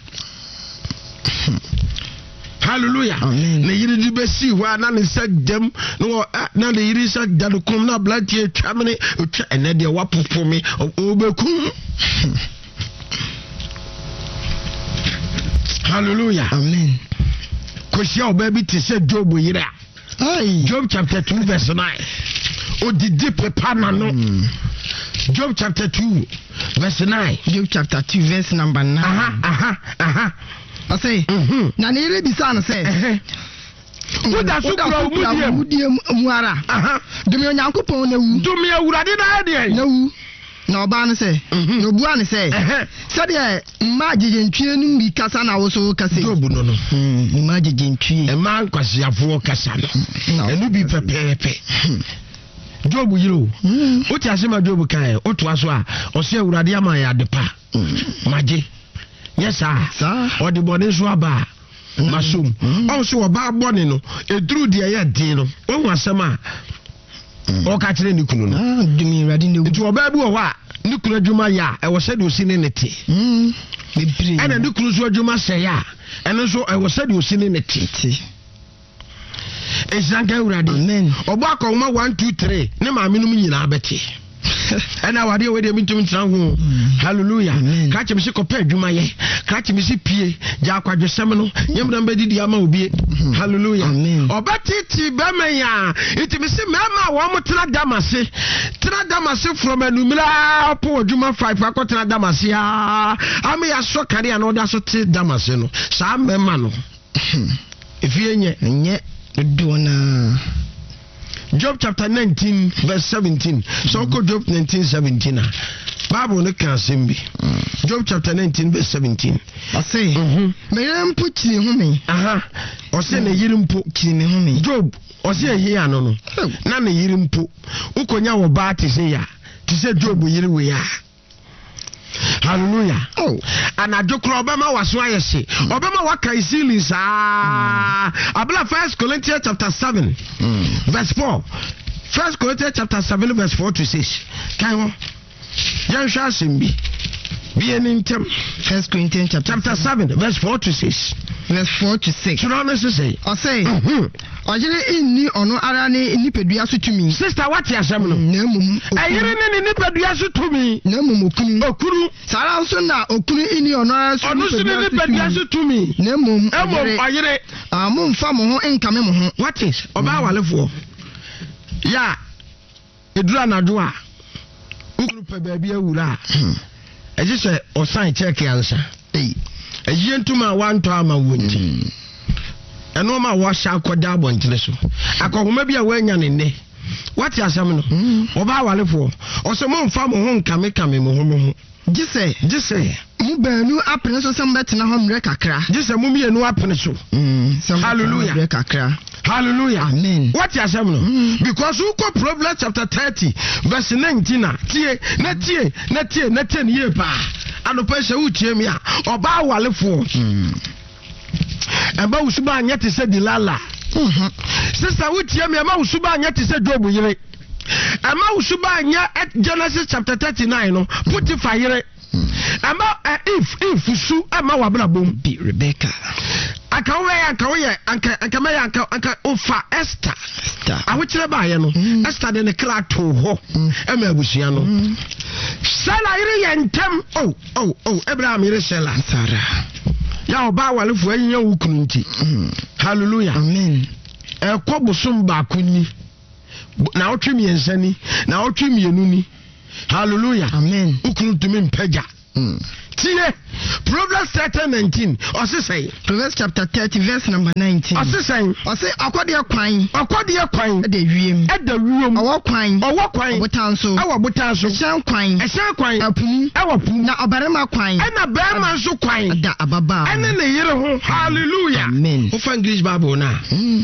Hallelujah. Ne yere de bɛsii hɔ a, na ne nsa dam na wɔ na ne yere nsa da no kɔm na aberanteɛ atwa mene ɔtwa ɛnɛ deɛ wapopo me ɔbɛkum. Hallelujah. Amen. Kɔhyia ɔbaa bi te sɛ Job yere a, Job chapter two verse nine. Odidi pepa n'ano. Job chapter two verse nine. Job chapter two verse number nine. Aha, aha, aha. Ɔsɛ, na ne yere bisa no sɛ, woda so kura wo mudie mu ara? Dome Onyankopɔn na wu. Dome Awurade na ayɛ deɛ? Na wu. Na ɔbaa no sɛ, na obua no sɛ, sɛdeɛ mmaa gyegyentwie no bi kasa na wo so kasa yi. Job no no. Mmaa gyegyentwie. Mmaa nkwasiafoɔ kasa no. Ɛno bi pɛpɛɛpɛ. Job yere o. Wote ase ma Job kae, wotoa so a, ɔsɛ Awurade ama yɛ ade pa. Magye. Nyɛ saa. Ɔde bɔne nso aba a, masom. Ɔn so ɔbaa bɔne no, ɛduru deɛ ɛyɛ den no, wahu asɛm a ɔka kyerɛ ne kunu no. Nti ɔbaa bi wɔ hɔ a, ne kunu adwuma yɛ a, ɛwɔ sɛdeɛ ɔsi ne ne te. Ɛna ne kunu nso adwuma sɛe a, ɛno nso ɛwɔ sɛdeɛ ɔsi ne ne te. Nhyira nka Awurade. Ɔbɔ akɔnhoma one two three, ne maame nom nyinaa bɛte. Ɛna awadeɛ wei deɛ mentumi ntena ho. Hallelujah. Krakye me se kɔpɛ adwuma yɛ. Krakye me se pie. Gya akwadwosɛm no. Nyɛ mena bɛdidi ama obie. Hallelujah. Ɔbɛtete bɛrima yi a, nti me se mmarima a wɔn tena dam ase, tena dam ase from anumere a ɔpɔ adwuma five akɔtena dam ase a, ama yɛasɔ kanea na ɔda so te dam ase no, saa mmarima no, efie nyɛ. Nyɛ dodoɔ naa. Job chapter nineteen verse seventeen. So mm. Job nineteen seventeen a, Bible no ka asɛm bi. Job chapter nineteen verse seventeen. Ɔse, me yere mpo kyiri ho me. Aha. Ɔse ne yere mpo kyiri me ho me. Job ɔse ɛhe ano no, na ne yere mpo wokɔnya wɔ baa te sɛ ya te sɛ Job yere wei a. Hallelujah. Oh. Anadwo korɔ ɔbɛma waso ayɛ hye. Ɔbɛma waka ceiling saa. Abla First Corinthians chapter seven verse four. First Corinthians chapter seven verse four to six. Kan hɔ. Yɛnhwɛ asɛm bi. Bie ne ntɛm. First Corinthians chapter, chapter seven verse four to six. Verse four to six. Twerɛ no sesɛ. Ɔsɛ, ɔyere nni ɔno ara ne nipadua so tumi. Sister, wate asɛm no? Na mmom ɛyere ne ne nipadua so tumi. Na mmom okunu. Okunu. Saa ara nso na okunu nni ɔno ara so ɔno so ne nipadua so tumi. Na mmom ɔyere. Ɔyere. Ah, momfa mo ho nkame mo ho. Wate, ɔbaa walefoɔ. Ya, ɛduru anadwo a, wokunu pɛ baabi awura a, ɛgye sɛ ɔsan kyɛɛke ansa. Ɛyie ntoma a wantɔ ama wo nti, ɛnoɔma a wɔahyɛ akɔda abɔntene so, akɔhoma bi a woanya ne nnɛ. Wate asɛm no? Ɔbaa walefoɔ, ɔsɛ momfa mo ho nkamekame mo ho mo ho. Gye sɛ. Gye sɛ. Mo baanu apene so sɛ mobɛtena hɔ mmerɛ kakra. Gye sɛ mo mmienu apene so. Hallelujah. Mmerɛ kakra. Hallelujah. Amen. Wate asɛm no? Because wokɔ Proverbs chapter thirty verse nineteen a, tie na tie na tie na tie ne yie paa. Anɔpa sɛ wotie mi a, ɔbaa walefoɔ. Ɛma wo suba anyɛ te sɛ Delilah. Sister, wotie mi, ɛma wo suba anyɛ te sɛ Job yere. Ɛma wo suba anyɛ Genesis chapter thirty-nine no, Potiphar yere. Ɛma if if su ɛma w'abrabɔ mu. Bi Rebecca. Anka wobɛyɛ, anka woyɛ, anka anka mɛyɛ, anka anka wofa Esther. Esther. Ahokyerɛ baayɛ no, Esther de ne kra too hɔ ɛma abusua no. Sela yere yɛ ntɛm. Oh, oh, oh, Abraham yere Sela. Sarah. Yɛ ɔbaa awalefoɔ ahinya wo kunu nti. Hallelujah. Amen. Ɛkɔ bosom baako ni, na ɔtwe mmiɛnsa ni, na ɔtwe mmienu ni. Hallelujah. Amen. Wo kunu ntumi mpagya. Mm. Tie Proverbs thirty nineteen, ɔse sɛn? Proverbs chapter thirty verse number nineteen. Ɔse sɛn? Ɔse ɔkɔdeɛ kwan Ɔkɔdeɛ kwan ɛda wiem. Ɛda wiem. Ɔwɔ kwan. Ɔwɔ kwan. Ɔbotan so. Ɛwɔ botan so. Ɛhyɛn kwan. Ɛhyɛn kwan. Ɛpo mu. Ɛwɔ po mu. Na ɔbarima kwan. Ɛna bɛrima nso kwan. Ɛda ababaa ho. Ɛne ne yere ho. Hallelujah. Amen. Wofa English Bible no a Mm.